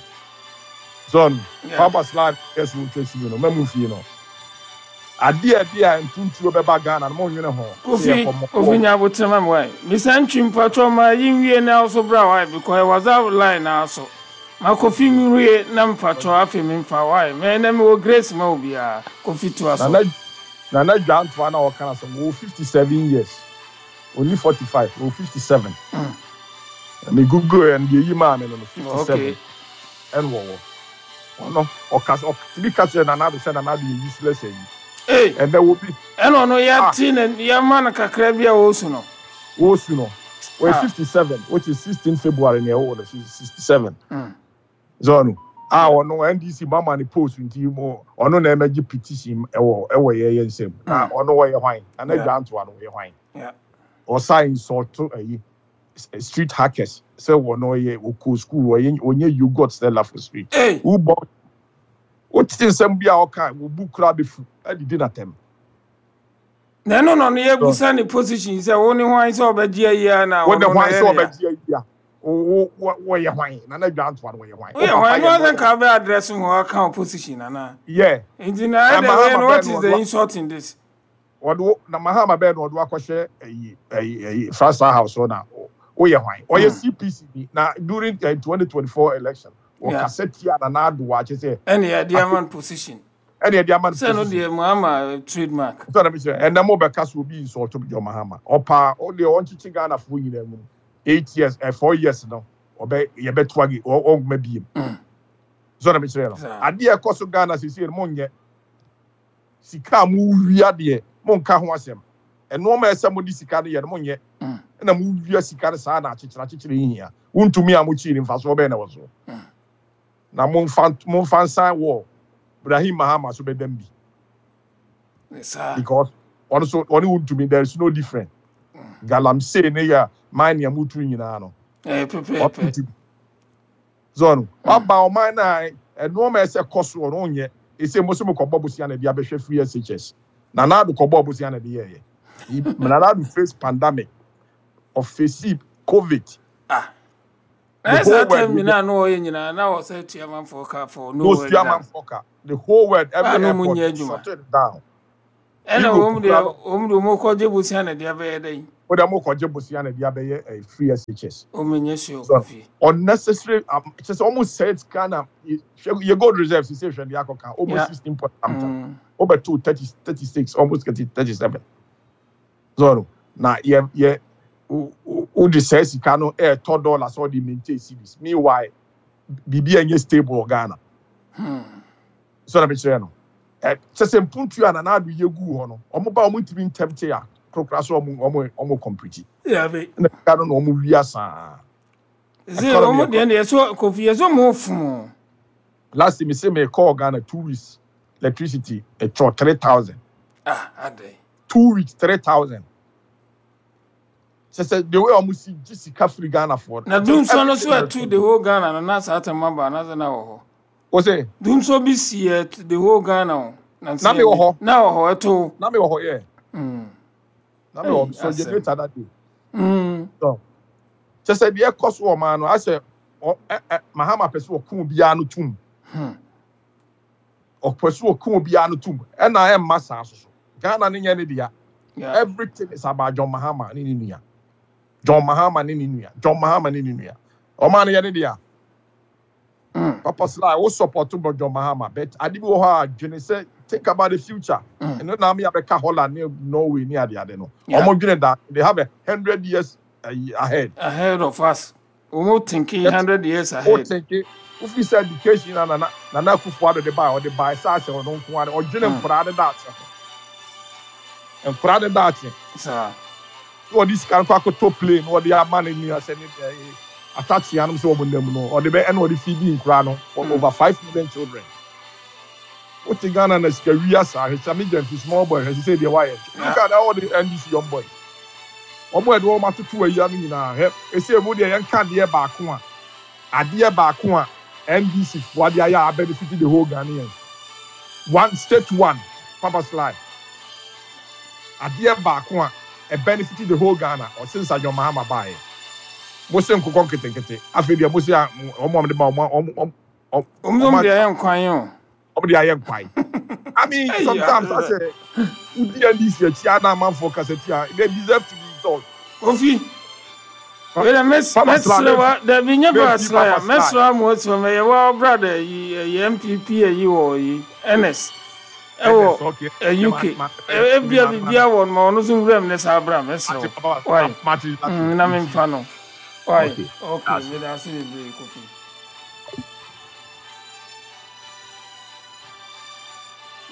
zone. Yeah. Papa Slide yɛ sɛ wotwa si no mɛmu fie no adeɛ adeɛ a ntuntuo bɛba Ghana no, mo nwene ho sɛ Kofi, yɛkɔ mo Kofi nya ma me wae. Misa ntwi mpatwɔ ma yi nwie na so bra wae, because WhatsApp line na so. Ma Kofi nwie na mpatwɔ, afei memfa wae. Me na me wɔ grace ma obiara. Kofi, toa so. Nana Nana Dwantoa na ɔka na sɛ wɔ fifty seven years, only forty five, wɔ fifty seven. Mm. Me google yɛ no deɛ, yi maa me no no fifty seven. Okay. Ɛna wɔwɔ ɔno ɔka ɔtumi ka kyerɛ Nana Ado sɛ Nana Ado yɛ useless ayi. Hey, ɛnɛ wo bi ɛna ɔno ah yɛate na yɛma no kakra bi a wɔsu no. Wɔsu no, wɔyɛ Ah. fifty seven, which is sixteen February na ɛwɔ no sixty seven Mm. zɔno a ɔno N D C mama ne post nti mo ɔno na ɛmɛgye petition ɛwɔ ɛwɔ yɛ yɛ nsam na Mm. ɔno wɔyɛ hwan? Nana Yeah. Dwantoa no wɔyɛ hwan? Yeah. Ɔsa insult ayi street hackers sɛ wɔn ɔyɛ ɔkɔ school, ɔyɛ ɔnyɛ yogurt seller for street. Hey, wobɔ wote nsɛm bi a ɔka wobu kura bɛfu adidi n'atɛm. Na ɛno na ɔno So yɛbusa ne position sɛ wo ne hwan sɛ ɔbɛgye ayi a na wode ɔno na hwan ɛyɛ sɛ ne ya. ɔbɛgye ayi a wo wo wɔyɛ hwan? Nana Dwantoa no wɔyɛ hwan? Wo Woyɛ papa hwan? yɛ No asɛ lawyer. nka bɛ address ho aka wo position anaa? Yɛ Nti na na ɛdɛ wei Mahama no, bɛɛ what no is the ɔde insult in this? ɔde wo na Mahama bɛɛ no ɔde akɔhyɛ ayi ayi ayi Frasa House hɔ na woyɛ hwan? Ɔyɛ Mm. C P C bi na during twenty twenty four election Yeah. wɔkasa tia Nana Ado akyɛ sɛ Ɛne yɛde ama no position. Ɛne yɛde ama no Sɛ no position. deɛ Mahama trademark. Sɛ na mi sɛ ɛnɛ mo bɛka so obi insult John Mahama, ɔpaa ɔdeɛ ɔnkyekye Ghanafoɔ nyinaa mu eight years ɛ four years no, ɔbɛ yɛbɛto age ɔnkuma biem. Mm. Sɛ na mi kyerɛ no Saa. adeɛ ɛkɔ so Ghana sisi no, mo nyɛ sika a mo wia deɛ, mo nka ho asɛm. Ɛnneɛma a ɛsɛ mo de sika no yɛ no, mo nyɛ. Mm. Ɛna mo wia sika no saa na akyekyere akyekyere yi hia wontumi a mo kyii ne mfasoɔ bɛyɛ na wɔ so. Mm. Na mo nfa mo nfa nsan wɔ Ibrahim Mahama so bɛdam bi. Saa. Because ɔno so ɔne wontumi, there is no difference. Galamsey ne yɛ mine a mutu nyinaa no Ɛyɛ pɛpɛɛpɛ. ɔntumi zɔno waba ɔman na ɛnneɛma a ɛsɛ kɔ so ɔno nyɛ. Ese mo so mo kɔbɔ bosia na ɛde abɛhwɛ free S H S. Nana Ado kɔbɔ bosia na ɛde yɛɛyɛ. Nana Ado face pandemic, ɔface COVID. Ah. The Na ɛsɛ whole world time nyinaa na ɔyɛ nyinaa na ɔsɛ tua manfoɔ ka for no no work tua done. Manfoɔ ka. The whole world, A every na ɔmo airport nyɛ adwuma. shut it down. Ɛna Europe wɔn koraa deɛ no, wɔn deɛ wɔn kɔgye bosia na deɛ abɛyɛ dɛ wode mo kɔgye bosia na de abɛyɛ eh, free S H S. Wɔn nyɛ sure. So Kofi. unnecessary um, kyerɛ sɛ ɔmo sɛ Ghana hwɛ yɛ gold reserve sisi, hwɛ deɛ akɔka almost Yeah. sixteen point something, Mm. wobɛto thirty thirty six, almost thirty thirty seven. So na yɛ yɛ wo de sɛ sika no ɛɛtɔ dollar sɛ ɔde maintain cedis, meanwhile biribi a ɛnyɛ stable wɔ Ghana. Hmm. So na mekyerɛ no ɛ kyɛ sɛ mpuntu a Nana Ado yɛ gu hɔ no, ɔmo ba ɔmo ntumi ntɛm te a korokora so ɔmo ɔmo ɔmo complete Yeah, be. ɛna sika no na ɔmo wia saa. Sɛ economy wɔn deɛ deɛ so Kofi yɛ so mo fun o. Last time say me call Ghana, two weeks electricity ɛtɔ three thousand. Ah, adɛ. Two weeks, three thousand. Kyɛ sɛ the way ɔmo si gye sika firi Ghana for Na dumsɔ no so ɛtu the whole Ghana no na saa tɛm aba na sɛ na wɔ hɔ. O sɛ Dumsɔ bi si ɛ the whole Ghana o. Na na me wɔ hɔ. Na wɔ hɔ ɛto. Na me wɔ hɔ yɛ. Mm. Na me wɔ Hey, so asɛm. generator that day. Mm. So kyɛ sɛ deɛ ɛkɔ so wɔ ɔman no asɛ ɔ ɛ ɛ Mahama pɛ sɛ ɔko obiara no tum. Hmm. Ɔpɛ sɛ ɔko obiara no tum, ɛna ɛmma saa so so Ghana ne nyɛ ne dea. Yeah. Everything is about John Mahama ne ne nua, John Mahama ne ne nua, John Mahama ne ne nua. Ɔman no yɛ ne dea. Mm. Papa Sly, wo support bɔ John Mahama, but ade bi wɔ hɔ a dwene sɛ think about the future. Mm. Ɛno na ame abɛka Holland ne Norway ne ade ade no. Yeah. Ɔmo dwene da they have a hundred years uh, ahead. Ahead of us. Wɔn thinking Yes. hundred years O ahead. think wofi sɛ education na nana nana Akufo Addo de ba, ɔde ba ɛsɛ asɛ ɔno nko ara ɔdwene Mm. nkwaraa de daakye ho, nkwaraa de daakye. Saa. Na ɔde sika no kɔ akɔtɔ plane na ɔde ama ne nua sɛ ne ɛɛ atakyea nom sɛ ɔmo nam no, ɔde bɛ ɛna ɔde feed nkwaraa no for Mm. over five million children. Wote Ghana na sika wia saa, hwɛ Sami Gyamfi, small boy, hwɛ sɛ deɛ wayɛ. Look at all the N D C young boys, ɔmo yɛde wɔn atoto awia no nyinaa. Hwɛ esi emu deɛ, yɛnka adeɛ baako a adeɛ baako a N D C foɔ adeɛ ayɛ a benefit the whole Ghanaians, one state one. Papa Sly, adeɛ baako a ɛ benefit the whole Ghana ɔsi nsa John Mahama baayɛ, mo se nkokɔ nketenkete. Afei deɛ mo se a ɔmo a mo de ma ɔmo ɔmo ɔmo Wɔn nso deɛ ɛyɛ nkwan o. Ɔmo de ayɛ nkwan. I mean, Hey, sometimes yeah. I say wodi N D C akyi ana amanfoɔ kasa tia, they deserve to be insulted. Kofi. Wei dɛ mɛs Papa Sly, mɛsrɛ wa dabi nye maybe Papa Sly a Papa Sly. Mɛsrɛ amu esi ma yɛ wa brother yi ɛyɛ N P P ɛyi wɔ yi N S ɛwɔ N S, okay. ɛ U K. Ma- ma- Ebia ma- bibia wɔ no ma ɔno nso nwura mu ne saa bra mɛsrɛ Mate, wo. Papa, Why? mate, mate. Mm, na memfa no. Why? Okay. Okay, That's it. meda ase bebree, Kofi.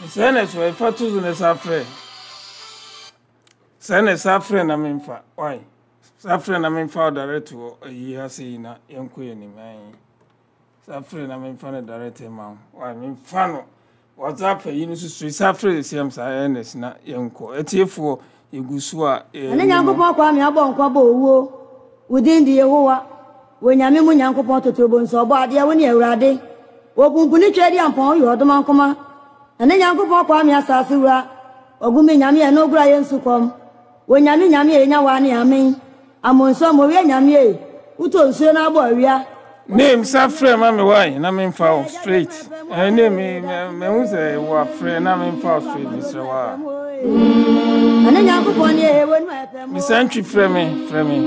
Sɛ na so ɛfa to so ne sa frɛ. Sɛ na sa frɛ na memfa. Why? Sa frɛ na memfa wo direct wɔ ayi ha sei na yɛnkɔ yɛn anim. Ayi. Sa frɛ na memfa no direct ma wo. Why? Memfa no. WhatsApp ayi no so so sa frɛ siam saa Ernest na yɛnkɔ. Atiefoɔ, yɛgu so a Ɛne yɛne mo. Nyankopɔn Kwame abɔ nkwa bɔ owuo. Wo din de Yehowa wɔ Nyame mu Nyankopɔn totorobɔ nso ɔbɔ adeɛ. Wo ne Awurade wɔpumpuni twa di ampɔn woyɛ ɔdoma nkoma. Ɛne Nyankopɔn Kwame asase wura ɔgumi Nyame ɛno ogura yɛ nsu kɔm wɔ Nyame Nyame a ɛnya waa ne amen amonso mɔwie Nyame e wotɔ nsuo no abɔ awia. Name sa frɛ ma me why na memfa wo straight. Eh, name me mehu sɛ wɔ afrɛ na memfa wo straight, mesrɛ wo a. Ɛne Nyankopɔn ne ɛwɔ nu ɛpɛ mu. Mister Ntwi, frɛ me, frɛ me.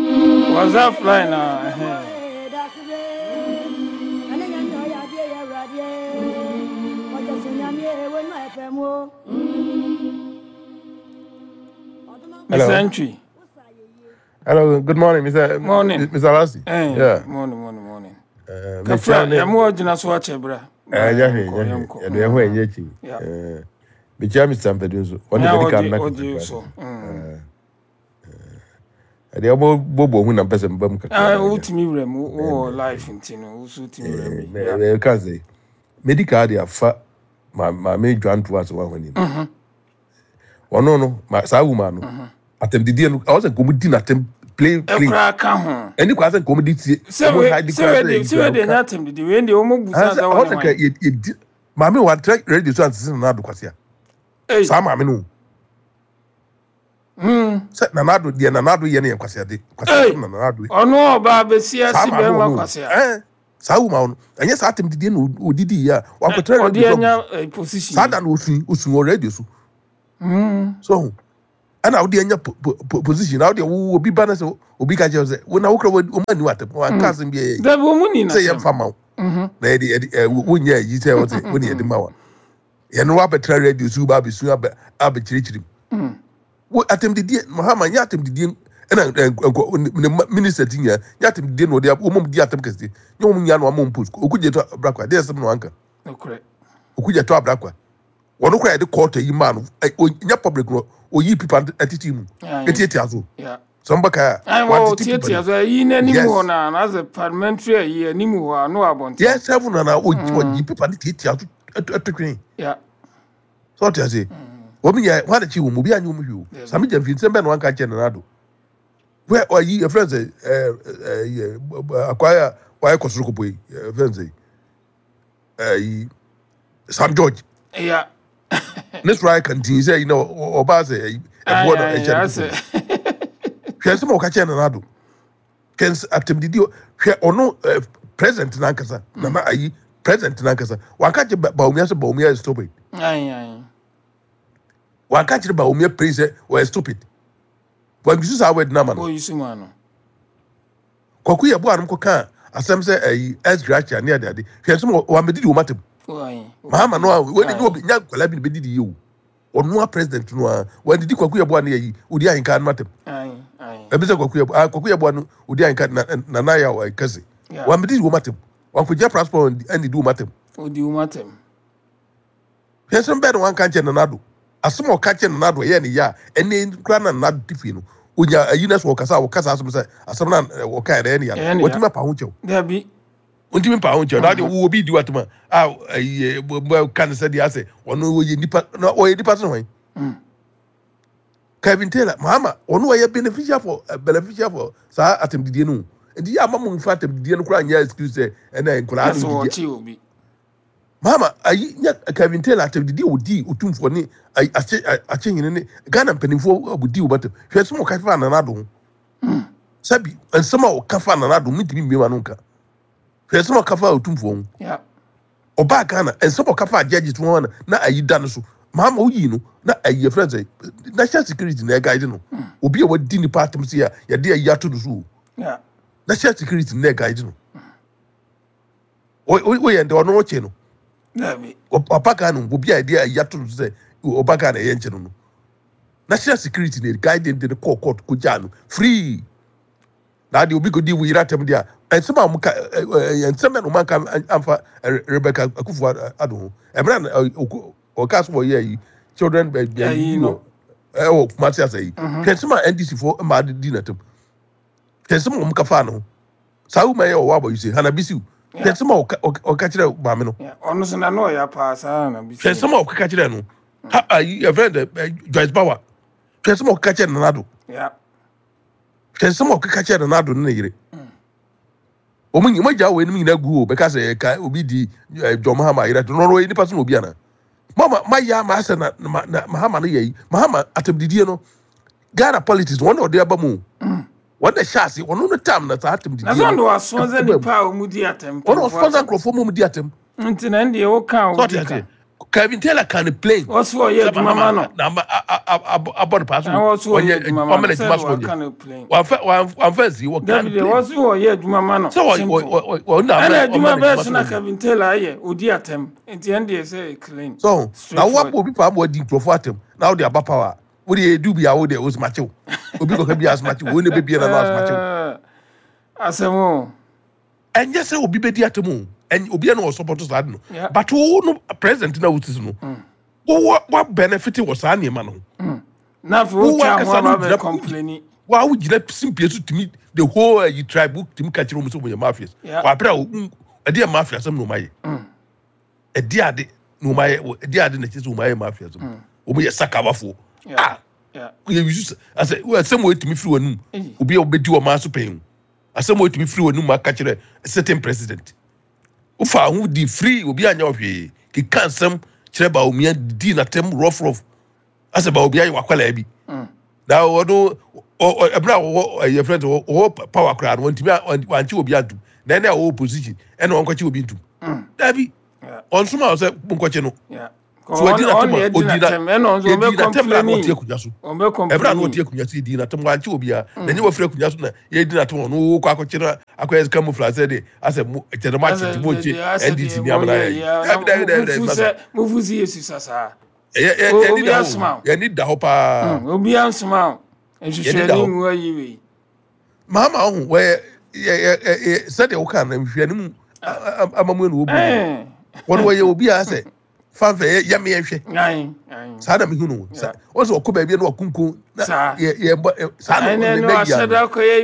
WhatsApp line na ɛhɛn. Ɛne Nyame ɔyɛ adeɛ yɛ Awurade ɔkyɛ so Nyame ɛwɔ nu ɛpɛ mu. Mister Hello. Ntwi. Hello. Good morning, Mister Morning. Mister Lassie. Eh, Yeah. morning, morning, morning. Uh, Kafra, mekyia ne yɛmo gyina so akyɛ bra. Eh, nyɛ hwee, Yɛnkɔ, nyɛ hwee. yɛnkɔ. Yɛde ɛho ɛnyɛ akyi. Yeah. Eh, mekyia Mister Mpadu nso. Ɔne Na bɛdi kan ɔgye na ɔgye kasa. so. Mm. Ɛdeɛ ɔbɔ bɔ hu na mpɛ sɛ mba mu kakra Ah, na agya. wotumi wura mu wowɔ life nti no, wo so wotumi wura mu bi. Yeah. Mɛka sɛ medi kaa de afa ma maame dwanto ase wɔn ahɔn Mhm. ɔno no ma saa woman no Mhm. atɛmdidie no ɔwɔ sɛ nkɔmɔ di n'atɛm plain plain. Ɛkoraa ka ho. Ɛni kwa sɛ nkɔmɔ di tie Sɛ ɔmo we ha di sɛ kora we sɛ de sɛ we de nya atɛm didi wei deɛ wɔn busa sɛ sɛ ɔwɔ wɔne sɛ nka hwan. yɛ yɛ di maame wa tẹ radio so ansese Nana Ado kwasia. Ei. Saa maame no Mm. sɛ Nana Ado deɛ, Nana Ado yɛ no yɛ kwasiade Ei. kwasiade na Nana Ado Ɔno ɔbaa bɛsi saa ase maame bɛrima wɔ no kwasia. ɛɛ Saa woman no, ɛnyɛ saa atem didie na odidi yi a wakɔtena Ɔde radio so anya agu. eh, position. Saa da na osun osun wɔ radio so. Mm. So ho ɛna wode anya po- po- po- position na wode wo obi ba na sɛ obi ka kyerɛ wo sɛ wo na wokura wɔma ni watam wanka asɛm bi ɛyɛ Dabi wɔn ni na sɛ yɛmfa ma wo Mhm. na yɛde yɛde ɛ wo- wonyɛ ayi sɛ wo sɛ wo ne yɛde ma wa yɛno wabɛtena radio so ba abɛsu abɛ abɛkyerɛkyerɛ mu. Mm. Wo atɛmdidie, Mahama nyɛ atɛmdidie ɛna ɛ, nkɔ ne ma- minister ti nyinaa nyɛ atɛmdidie na ɔde ab- wɔn mu di atɛm kɛseɛ nyɛ wɔn nyinaa na wɔn post Okugye to Abrakwa deɛ ɛsɛm na wanka. Nokorɛ. Okugye to Abrakwa wɔn kora yɛde court yi maa no ɛ o nyɛ public no, oyi pipa ɛtete mu Aye. etiatia so. Yeah. Sɛ mbɛka a Ayi wɔ wantete pipa tietia no so ayi n'anim yes hɔ na na sɛ parliamentary ayi anim hɔ a no wɔ abɔnten. Yɛ sɛfo na na oyi Mm. ɔyi pipa no tiatia so ɛto ɛto twene. Yeah. Sɛ ɔte ase Mm. wɔn nyɛ wɔn adekyi wɔn obi anyi wɔn hwɛ o. Dabi. Sami Gyamfi, nsɛm bɛn na wanka kyerɛ Nana Addo wɛ ɔyi efrɛ sɛ ɛɛ ɛɛ akwaya a wayɛ kɔsoro kɔpɔ yi, ɛfrɛ sɛ ɛyi Sam George Yeah. ne soro ayɛ kantin sɛ yi na ɔ- ɔbaa sɛ ɛyi Ayi ɛboɔ na ayi ɛhyɛ ne asɛ. koko no. Hwɛ nsɛm a ɔka kyerɛ Nana Addo, hwɛ ns atɛmdidi o- hwɛ ɔno ɛɛ president nankasa nana ayi president nankasa wanka kyerɛ Ba- Bawumia sɛ Bawumia yɛ stupid. Ayi ayi. Wanka kyerɛ Bawumia pray sɛ ɔyɛ stupid, wangisu saa word nama no. Oyi suma no. Kwaku yɛ bo anom kɔka asɛm sɛ ɛyi ex gratia ne ade ade, hwɛ nsɛm a wamɛdidi wɔn atam. Ayi. Mahama no a wɔde nye Ayi. obi nya nkwadaa bi na bɛdidi yie o, ɔno a president no a wɔadidi Kwaku yɛ boa no yɛ yi odi ahenka no atam. Ayi ayi. Ɛbi sɛ Kwaku yɛ ah Kwaku yɛ boa no odi ahenka na nana yɛ a kɛse. Yeah. Wamɛdidi wɔn atam, wankɔgyina passport ɛnidi wɔn atam. Odi wɔn atɛm. Hwɛ nsɛm bɛɛ na wanka nkyɛn Nana Addo. Asɛm a ɔka kyerɛ Nana Addo ɛyɛ ne yɛ a ɛne kura na Nana Addo ti fie no onya ayi na so ɔkasa a ɔkasa asɛm sɛ asɛm na ɔka yɛ ɛyɛ ne yɛ Ɛyɛ no ne ya. wɔtumi apa ho kyɛw. Dabi. Ntumi mpa ho kyɛw na adeɛ Mhm. wo obi di watom a a ayi ɛ ka ne sɛ deɛ asɛ ɔno ɔyɛ nipa na ɔyɛ nipa sɛ hɔn. Mm. Kevin Taylor, Mahama ɔno ɔyɛ beneficial for uh, beneficial for saa atɛmdidie no o. Nti yɛ ama mo nfa atɛmdidie no koraa nyɛ excuse sɛ ɛna Na nkwadaa sɛ no didi. wɔkye obi. Mahama ayi nyɛ Kevin Taylor atɛmdidie a odi Otumfoɔ ne ayi akye Akyehene ne Ghana mpanimfoɔ a odi wɔn atam. Hwɛ sɛ ɔka fa Nana Addo ho. Mm. Sɛbi, nsɛm a ɔka fa Nana Addo mintimi mmiem ano nka. Hwɛ sɛ ɔka fa Otumfoɔ ho. Yeah. Ɔbaa Ghana, nsɛm a ɔka fa judges ho na na ayi da no so. Mahama oyi no na ayi yɛfrɛ sɛ national security na ɛguide no. Mm. Obi a wadi nipa atam se a yɛde ayi ato no so o. Yeah. National security na ɛguide no. Woyɛ ndɛ ɔno ɔkye no. Dabi. Ɔba Ghana, obi a yɛde ayi ato no so sɛ ɔba Ghana ɛyɛ nkyɛn no no national security na ɛguide de no kɔɔ court kɔgyaa no free. Na adeɛ obi kɔdi wo yere atam deɛ a nsɛm a wɔn ka ɛ ɛ nsɛm bɛ na wɔn anka amfa ɛ, Rebecca Akufo Addo ho ɛmira na ɛ, ɔkɔ- ɔka so wɔyɛ yi children ɛ ɛ Ayi bi no. wɔ ɛwɔ Kumasi asa yi. Mhm. Hwɛ nsɛm a N D C foɔ mmaa de di n'atam. Hwɛ nsɛm a wɔn ka fa no ho. Saa woman yɛ ɔwɔ abɔ yi sɛ Hana Bisiw, hwɛ Yeah. nsɛm a ɔka ɔka ɔka kyerɛ maame no. Yeah. Ɔno so na no ɔyɛ paa saa na Hwɛ bisi. nsɛm a ɔkeka kyerɛ no ha ayi ɛfrɛ no ɛ Joyce Bawa. Hwɛ nsɛm a ɔkeka kyerɛ Nana Addo. Yeah. Hwɛ nsɛm a ɔkeka kyerɛ Nana Addo ne ne yere. Mm. Wɔn nyinaa mogya wɔ anim nyinaa gu hɔ bɛka sɛ ɛka obi di ɛ John Mahama ayera to no, ɔno ɔyɛ nipa so na obi ana mama mayɛ ama asɛ na na na Mahama no yɛ yi. Mahama atɛmdidie no, Ghana politics wɔn na ɔde aba mu o. Mm. Wɔn na hyɛ ase ɔno no tam na saa Na sɛ atɛmdidie no ɔno wasɔn sɛ ɛba mu. nipa a wɔn di atɛm Ɔno mpanyinfoɔ ɔsponsor atɛm. nkurɔfoɔ mu mu di atɛm. Nti na ndeɛ woka a Sɛ ɔte wodi ka. ase, Kevin Taylor kan ne plain Wɔso ɔyɛ sɛ adwuma ma Mahama no. na ama a- a- a- abɔ ne paa so. Na wɔso ɔyɛ Ɔnyɛ adwuma ma ɔmɛ no. na Sɛ adwuma de so waka ɔnyɛ no plain. wamfɛ wamfɛ nsi wɔka Dabi ne deɛ plain wɔso ɔyɛ adwuma ma no. sɛ ɔ Simple. ɔ ɔ ɔno na Ɛna ama adwuma ɔma bɛɛ n'adwuma so so na ɔnyɛ. Kevin Taylor ayɛ odi atɛm. Nti ɛn deɛ sɛ clean. So na wo Straightforward. abɔ obi paa ma wadi nkurɔfoɔ atɛm na wode aba power a wode edu bi a wode osimakyew obi kɔka bi asomakyew wo ne bebie na no asomakyew. Ɛɛ, asɛm o. Ɛnyɛ sɛ obi bɛdi atɛm o, ɛnyɛ obi a na ɔsɔpɔtɔ saa de no. Yeah. But wo no president na wosi so no, Mm. wo wa wa benefit wɔ saa nneɛma no ho. Mm. Na afei Wo wotwa ho ankasa no aba bɛ gyina complaini. wa wo gyina simpie so tumi the whole uh, tribe wo tumi ka kyerɛ wɔn sɛ wɔyɛ mafias. Yeah. Wɔ abere a wo ɛde yɛ mafia asɛm na wɔn ayɛ. Mm. Ɛde ade na wɔn ayɛ ɛde ade na kyerɛ sɛ wɔn ayɛ mafia asɛm. Mm. Wɔn yɛ sakawafoɔ. Yeah. Ah, Yeah. yɛ yusu asɛ asɛm wɔ etumi firi wɔn anum. Eyi. Obi a obedi wɔn aso pɛn o, asɛm wɔ etumi firi wɔn anum aka kyerɛ certain president wofa ho di free, obi anya ɔhwee keka nsɛm kyerɛ ba omia di n'atɛm rough rough asɛ ba obi ayɛ wakwalaa bi. Mm. Na ɔno ɛmira a wɔwɔ ɛyɛ fɛn sɛ wɔwɔ power koraa no, wɔntumi wankye obi antum. Na ɛna ɔwɔ opposition ɛna ɔnkɔkye obi ntum. Dabi, ɔnsoma sɛ nkɔkye no. So ɔdi n'atɛm a ɔdi na yɛdi n'atɛm na ɔte akonnwa so. Ɛbɛrɛ a na ɔte akonnwa so yɛdi n'atɛm, wankye obiara. Na nye wɔfiri akonnwa so na yɛdi n'atɛm, ɔno wɔkɔ akɔkye no akɔyɛ camouflage sɛ de asɛ mo kyerɛ mo akye ti mo kye N D C ni amena yɛ. Dabi, dabi, dabi, dabi, masa. Mufu si yesu sasa. Ɛyɛ yɛ yɛni da hɔ, yɛni da hɔ paa. Obi ansoma o. Yɛni da Nhwehwɛni hɔ. mu ayi wei. Mahama ɔho wɔyɛ yɛ yɛ yɛ sɛdeɛ wɔka no, nhwehwɛni mu amamu na wɔbu no. Ɛɛ. Wɔn wɔyɛ obi a sɛ fanfɛ yɛ yɛmɛ yɛhwɛ. Ayi ayi. Saa na mehu no sa. Wɔn sɛ ɔkɔ baabi na wakunkun na Saa. yɛ yɛ bɔ ɛ saa na Ɛnɛ ɔne no na yia asɛda no. kɔ yɛ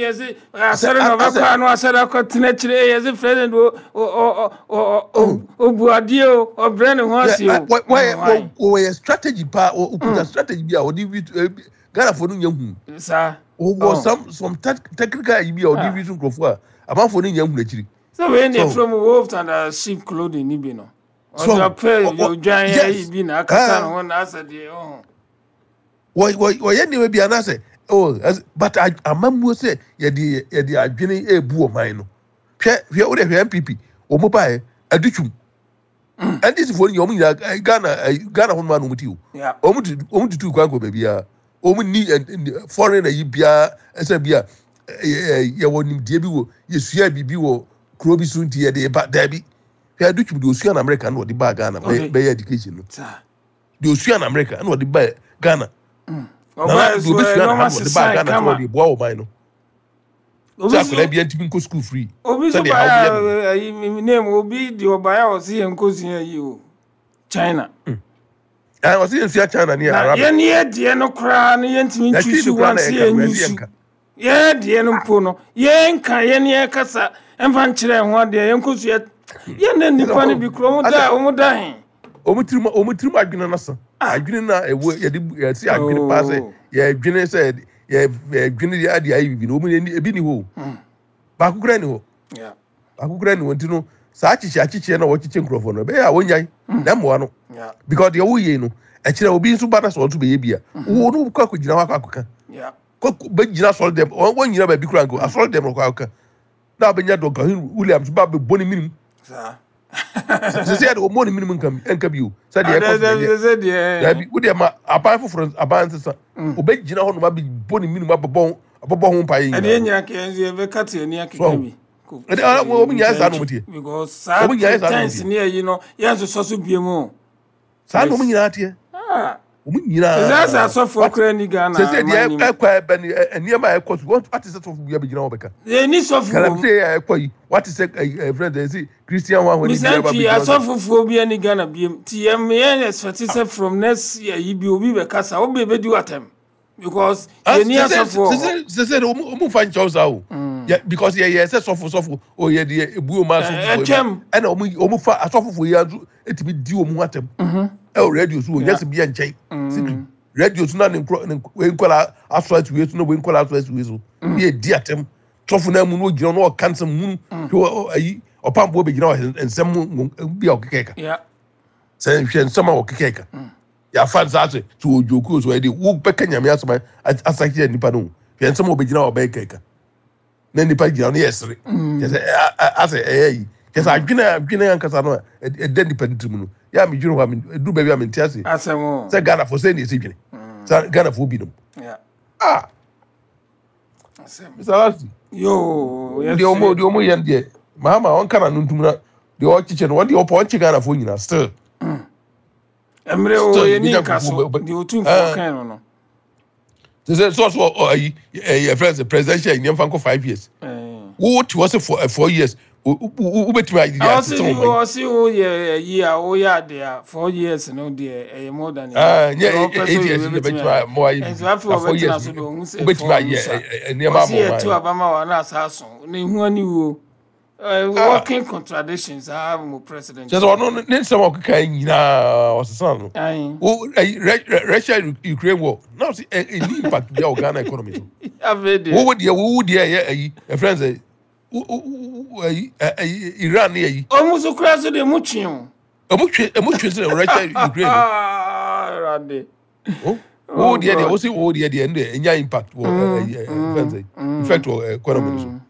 yɛsi Sɛ asɛre na a- asɛ ɔbɛkɔ ano asɛda kɔ tena akyire, yɛsi president o o o o oh o obu adeɛ o, ɔbrɛ ne ho yɛ ase o. wɔ wɔyɛ Why? wɔyɛ strategy paa, ɔkuta strategy bi a ɔde bi Ghana fo no nyɛ hu. Saa. Wɔwɔ Oh. some some tactical yi bi a ɔde Ah. bi so nkurɔfoɔ a amanfoɔ no nyɛ hu n'akyiri. Sɛ wei ne So from wolf and uh, sheep clothing ni bi no. so Ɔde ɔpɛ ɔ ɔ odwan ayi yes bi na akata ne ah ho na asɛ deɛ ɔho. wɔ wɔ wɔyɛ nneɛma bi anaasɛ oh ɛs- but a- amammuo sɛ yɛde yɛde adwene ebu ɔman no. Hwɛ, hwɛ, o de hwɛ N P P wɔn mo baeɛ adutwum N D C foɔ no nyɛ wɔn nyinaa ɛ, Ghana ɛ, Ghana ho nom a na wɔn ti o. Yeah. wɔn tu wɔn tutu kwan kɔ baabiara, wɔn ni ɛ, ɛ, foreign ayi biara ɛsɛ bi a ɛ, ɛ, yɛwɔ nimdeɛ bi wɔ yɛsua biribi wɔ kuro bi so nti yɛde ba. Daabi, hwɛ adutwum deɛ osua na America na ɔde baa Ghana bɛyɛ Okay. bɛyɛ education no. Saa. Deɛ osua na America na ɔde baa Ghana nana Ɔbaa deɛ so obesua na ha ɛnɔɔma na ɔde baa sesan Ghana sɛ kama. ɔde boa ɔman no Obi sɛ so akwadaa bi ntumi nkɔ school free obi so sɛdeɛ ha wɔyɛ no. baeɛ a ayi mi name obi deɛ ɔbaeɛ a ɔsi yɛn nkosua yi o China. Ɛn ɔsɛ yɛn sua China ne Na Arabic. yɛn yɛ deɛ no koraa no yɛntumi na twi ntwi no koraa one na sɛ yɛka yɛn no ɛsɛ yusu. yɛnka. Yɛn deɛ no mpo no yɛnka yɛn yɛ kasa ɛmfa nkyerɛ ho adeɛ yɛn nkosua yɛn ne nipa no bi kuro ɔmo da ɔmo da he. wɔn tirim wɔn tirim adwene no sa adwene na ɛwɔ yɛde yɛsi adwene paa sɛ Oh. yɛdwene sɛ yɛ yɛdwene yɛ ade ayɛ bibi no, wɔn ani ebi ni hɔ o. Baako koraa ni hɔ. Yeah. Baako koraa ni hɔ. Nti no saa akyekyɛ akyekyɛ na wɔkyekyɛ nkurɔfoɔ no ɛbɛyɛ a wɔnyae na mmoa no Yeah. because deɛ wɔyɛ no ɛkyerɛ obi nso ba na sɛ ɔnso bɛyɛ bi a wɔn no kɔ akɔgyina hɔ akɔ akɔka Yeah. kɔ bɛgyina asɔre dɛm, wɔn wɔn nyina baabi koraa nko asɔre dɛm kɔ akɔka na abɛnya Duncan Williams ba bɛbɔ ne minim. Saa. Sɛ sɛ yɛde wɔn ne minim nka nka bi o, sɛdeɛ ɛkɔ so na ɛnyɛ. Sɛ deɛ. Dabi, wo deɛ ma aban foforɔ, aban nsesa, obɛgyina hɔ nom abɛbɔ ne minim, abɛbɔ abɛbɔ ho mpaeɛ Ɛdeɛ nyinaa. nyina kɛ nso yɛbɛka te ani akeka So bi. ɛde ah, wɔn nyinaa saa na wɔn teɛ. Because saa Wɔn nyinaa saa na wɔn tense teɛ. ne ayi no yɛnsosɔ so bie mu o. Saa na wɔn nyinaa teɛ. Ah. Wɔn Sɛ nyinaa sɛ asɔfoɔ wate koraa ni Ghana sɛ sɛ aman deɛ nim. ɛkɔ ɛbɛ ni ɛ- nneɛma a ɛkɔ so wɔn ate sɛ sɔfo bi abɛgyina hɔ bɛka Yɛni sɔfo wɔ mu. Galamsey a ɛkɔ yi, wate sɛ ɛ ɛ friend ɛ Christian wɔn ahɔn ni bi aba Misantwi abɛgyina hɔ sɛ asɔfofoɔ bi ani Ghana biem nti yɛn yɛn expect sɛ from next year yi bi obi bɛkasa obi bɛdi watam because ah yɛni sɛ sɛ asɔfoɔ wɔ hɔ. sɛ sɛ sɛ wɔn wɔn fa nkyɛw saa o yɛ because yɛ yɛ sɛ sɔfo sɔfo o yɛ deɛ ebu wɔn asɔfofoɔ yi ba Ɛtwam. ɛna wɔn wɔn fa asɔfofoɔ yi nso etumi di wɔn ho atɛm ɛwɔ radio so wɔ Yeah. nyɛsɛ bi yɛ nkyɛn secret radio so na ne nkorɔ ne wei nkɔla asɔ asi wei so na wei nkɔla asɔ asi wei so ne yɛ di atɛm sɔfo naa mu na ogyina na ɔka nsɛm hunu hwɛ ɔ- ayi ɔpampoɔ bɛgyina hɔ nsɛm mu bi a ɔkeka ka Yeah. sɛ nhwɛ nsɛm a ɔkeka ka yɛafa nsa ase sɛ ɔdwoku so ɛde wobɛka Nyame asɛm asa kyerɛ nipa no o hwɛ nsɛm a ɔbɛgyina hɔ ɔbɛyɛ kɛka na nipa gyina hɔ no yɛ sere kyɛ sɛ ɛ- ɛ- asɛ ɛyɛ yi kyɛ sɛ adwene a adwene ankasa no a ɛd- ɛda nipa no tirim no yɛ a medwene hɔ a men- ɛduru baabi a mente ase Asɛm o. sɛ Ghanafoɔ sɛ ne ɛsɛ dwene sɛ Ghanafoɔ binom Yeah. ah Asɛm. Mister Lasty, Yoo deɛ ɔmo yɛsɛ. deɛ ɔmo yɛ no deɛ Mahama ɔnka na no ntum na deɛ ɔkyekyɛ no ɔdeɛ ɔpɔ ɔnkye Ghanafoɔ nyinaa still Mmerɛ o still yɛni yɛbɛgya nka nkurɔfoɔ so bɛ bɛ deɛ otumfoɔ ɛɛ kan no no. Te sɛ sɛ ɔso ɔ ayi ɛyɛ fɛn sɛ presidential yi nneɛma nkɔ five years. Ɛɛ. Wo te hɔ sɛ four ɛ, four years wo wo wobɛtumi ayɛ Ɔsi asesa wɔn yi. Ɔsi wo yɛ ayi a woyɛ ade a four years no deɛ ɛyɛ more than enough. Ɛɛ nyɛ Deɛ ɔpɛ sɛ eight ɔyɛ years yi bɛtumi bɛtumi ayɛ. ayɛ mo ayɛ Nso bibi afei na four ɔbɛtena years so deɛ ɔhu sɛ wobɛtumi four no ayɛ sa. ɛ- ɛ- nneɛma Ɔsi ama yɛto ɔman aba ma wa na asa aso na ehu ani wuo. Ɛɛ ah working contradictions saa mo president kyerɛ sɛ yi. ɔno ne nsɛm a ɔkeka yi nyinaa ɔsesa no. Ayi. Wo ɛyi Rɛ- Rɛ- Russia Ukraine war na ɔsi ɛ ɛni impact bi a wɔ Ghana economy so. Afei deɛ. Wo wo deɛ wo wo deɛ ɛyɛ ɛyi ɛfrɛ sɛ wo wo wo ɛyi ɛ- ɛyi Iran ne ɛyi. Ɔmo so kura so deɛ mo twe o. Ɛmu twe ɛmu twe sɛ Russia Ukraine no. Awurade. Wo wo Oh deɛ deɛ God. wo si wo deɛ deɛ ɛno deɛ ɛnya impact wɔ ɛ Mm, ɛyi ɛ ɛfrɛ mm, sɛ mm, effect wɔ economy no so. mm.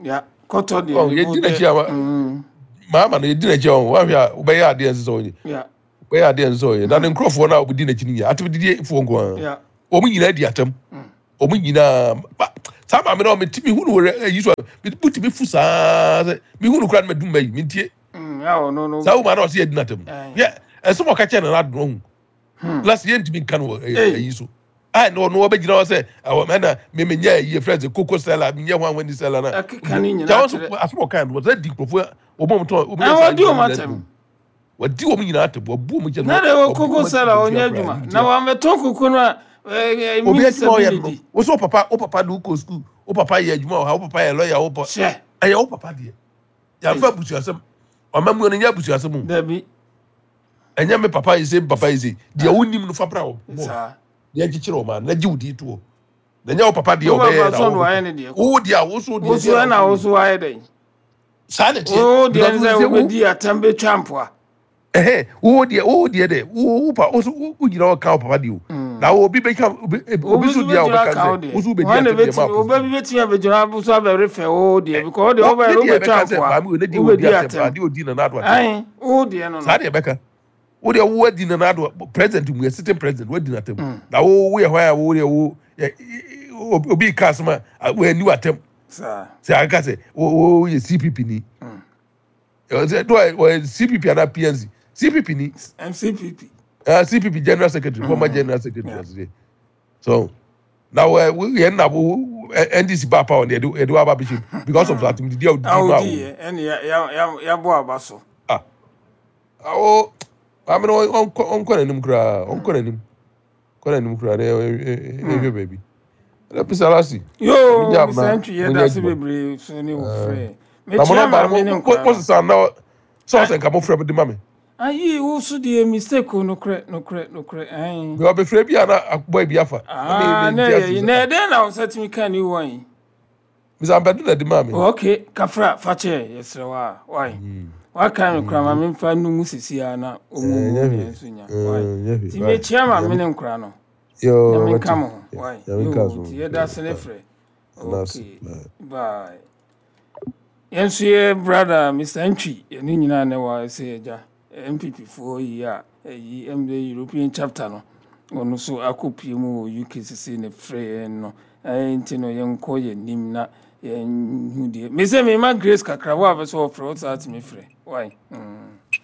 Yeah. Kɔtɔ deɛ Ɔn ne yɛdi bo n'akyi dɛ a wa- mm, maama no yɛdi n'akyi a ɔn wahwɛ a wobɛyɛ adeɛ nsɛ sɛ ɔnyɛ yeah wobɛyɛ adeɛ nsɛ sɛ ɔyɛ na ne nkurɔfoɔ no a wɔdi n'akyi no nyinaa atɛmdidiefoɔ nko ara yeah wɔn nyinaa di atɛm mm. wɔn nyinaa ba saa maame no a meti mi hu no wɔ ayi so a mebutumi fu saa sɛ mi hu no koraa no ma dum ma yi mi ntie Mm, a ɔno no saa woma na ɔsɛ yɛdi n'atɛm ɛn yɛ ɛsɛm a ɔka kyerɛ nana adono ho hmm last yɛntumi nka no wɔ ɛyi ei ɛyi so a na ɔno ɔbɛgyina hɔ sɛ ɛwɔ ɛna memenyɛ ɛyi efrɛ sɛ koko sɛla menyɛ hwan wani sɛla na ɛkeka ne gya nyinaa wɔn so kyerɛ asɛm a ɔka no wɔsɛ di nkurɔfoɔ wɔn a wɔtɔn wɔn yɛ ɛn saa wɔdi adwuma wɔn no nyinaa atɛm di wɔdi wɔn nyinaa atɛm wɔbu wɔn kyɛ na no de wɔ wɔbu koko wɔn sɛla animtia ɔnyɛ koraa adwuma na animtia wɔamɛtɔn koko no a ɛɛ obi minista adwuma a bi ɔyɛ ne no di wosɛ wo papa wo papa de wokɔ sukuu wo papa yɛ adwuma wɔ ha wo papa yɛ lɔya wo papa hyɛ ɛyɛ wo papa deɛ ei yɛmfa abusuasɛm ɔma mu no nyɛ abusuasɛm o dabi ɛnyɛ me papa yɛ sɛ me papa yɛ sɛ deɛ ah wonim no fa bra wɔ bɔɔd saa deɛ nkyekyere ɔma na gye wo din to hɔ na nyɛ wo papa deɛ wo ɔbɛyɛ papa na so no wo wayɛ ne deɛ kɔ wo deɛ a wo so wo deɛ so deɛ na ɛna wo wo so so wayɛ dɛn saa na teɛ wo deɛ because ne wo sɛ sɛ wo wobɛdi atɛm bɛtwa mpoa ɛhɛ wo deɛ wo deɛ dɛ wo wo pa wo so wo wo gyina hɔ ka wo papa deɛ o na wo obi bɛka obi obi obi nso so deɛ a bɛgyina wɔbɛka aka wo sɛ deɛ wo so wobɛdi wɔn na atɛm deɛ ma bɛtumi oba bi opposition bɛtumi abɛgyina so abɛrefɛ wo deɛ because wo deɛ wo wobɛyɛ ne no deɛ wobɛtwa ɛbɛka sɛ mpoa maame wo ne deɛ wɔdi wobɛdi atɛm atɛm adeɛ odi nana ado atɛm ae wo deɛ no saa no deɛ ɛbɛka wo deɛ wo adi nana ado president mu yɛ sitting president wadi n'atɛm Mm, na wo wo yɛ hwan a wo deɛ wo yɛ obi ka asɛm a wo ani w'atɛm saa sɛ aka sɛ wo wo yɛ C P P ni Mm. ɛwɔ sɛ do wɔyɛ C P P anaa P N C C P P ni. M C P P. uh, C P P general secretary, former Mm, general secretary yeah. ɔsɛ so na wɔ yɛn na wo N D C ba power yɛde yɛde wa aba bɛhyɛ mu because of that didi a A odi ma wodi wo yɛ ɛne ya- ya- ya- yɛabɔ aba so. Ah, awo maame no ɔnkɔ ɔnkɔ n'anim koraa, ɔnkɔ n'anim, kɔ n'anim koraa na ɛhwɛ baabi ɛna pisalasi yoo ɛmi gya na Mister Ntwi mo yɛda nyɛ ase adwuma bebree so ne wo frɛ na mo mekyia nɔmba no maame ne mo mo nkora mo no sisan na sɛ ɔsɛ nka mo frɛ mo de ma mi. Ayi wo so deɛ mistake o, nokorɛ nokorɛ nokorɛ ɛn Mɛ ɔbɛfrɛ bi a na akobɔ bi afa na mi ah mi na nti ɛyɛ ase yi sɛ na ah ɛdɛn na wo nsa tumi ka new one yi? Misa mpɛdu na di ma mi. Okay, kafra fakyɛ, yɛsrɛ wo a wai Mm, waka me kora ma mm, memfa no mu sisi a na ɔmu eh, mu nyɛ ne hwee nso nya eh, wai nyɛ hwee nti bye mekyia maame nyame ne nkora no. yoo Nyame wate nka mo ho wai. Nyame nka Yoo so nti yɛda ase ne frɛ. Anaase Okay, bye. Bye. Yɛn nso yɛ brother Mister Ntwi yɛne nyinaa ne wɔ sɛ agya N P P foɔ yi a ɛyi ɛmde European chapter no ɔno nso akɔpie mu wɔ U K sese ne frɛ yɛn no ɛyɛ nti no yɛnkɔ yɛn nim na yɛnhu deɛ mesɛ mema grace kakra wo a pɛ sɛ wɔfrɛ wo saa tumi frɛ wai mm.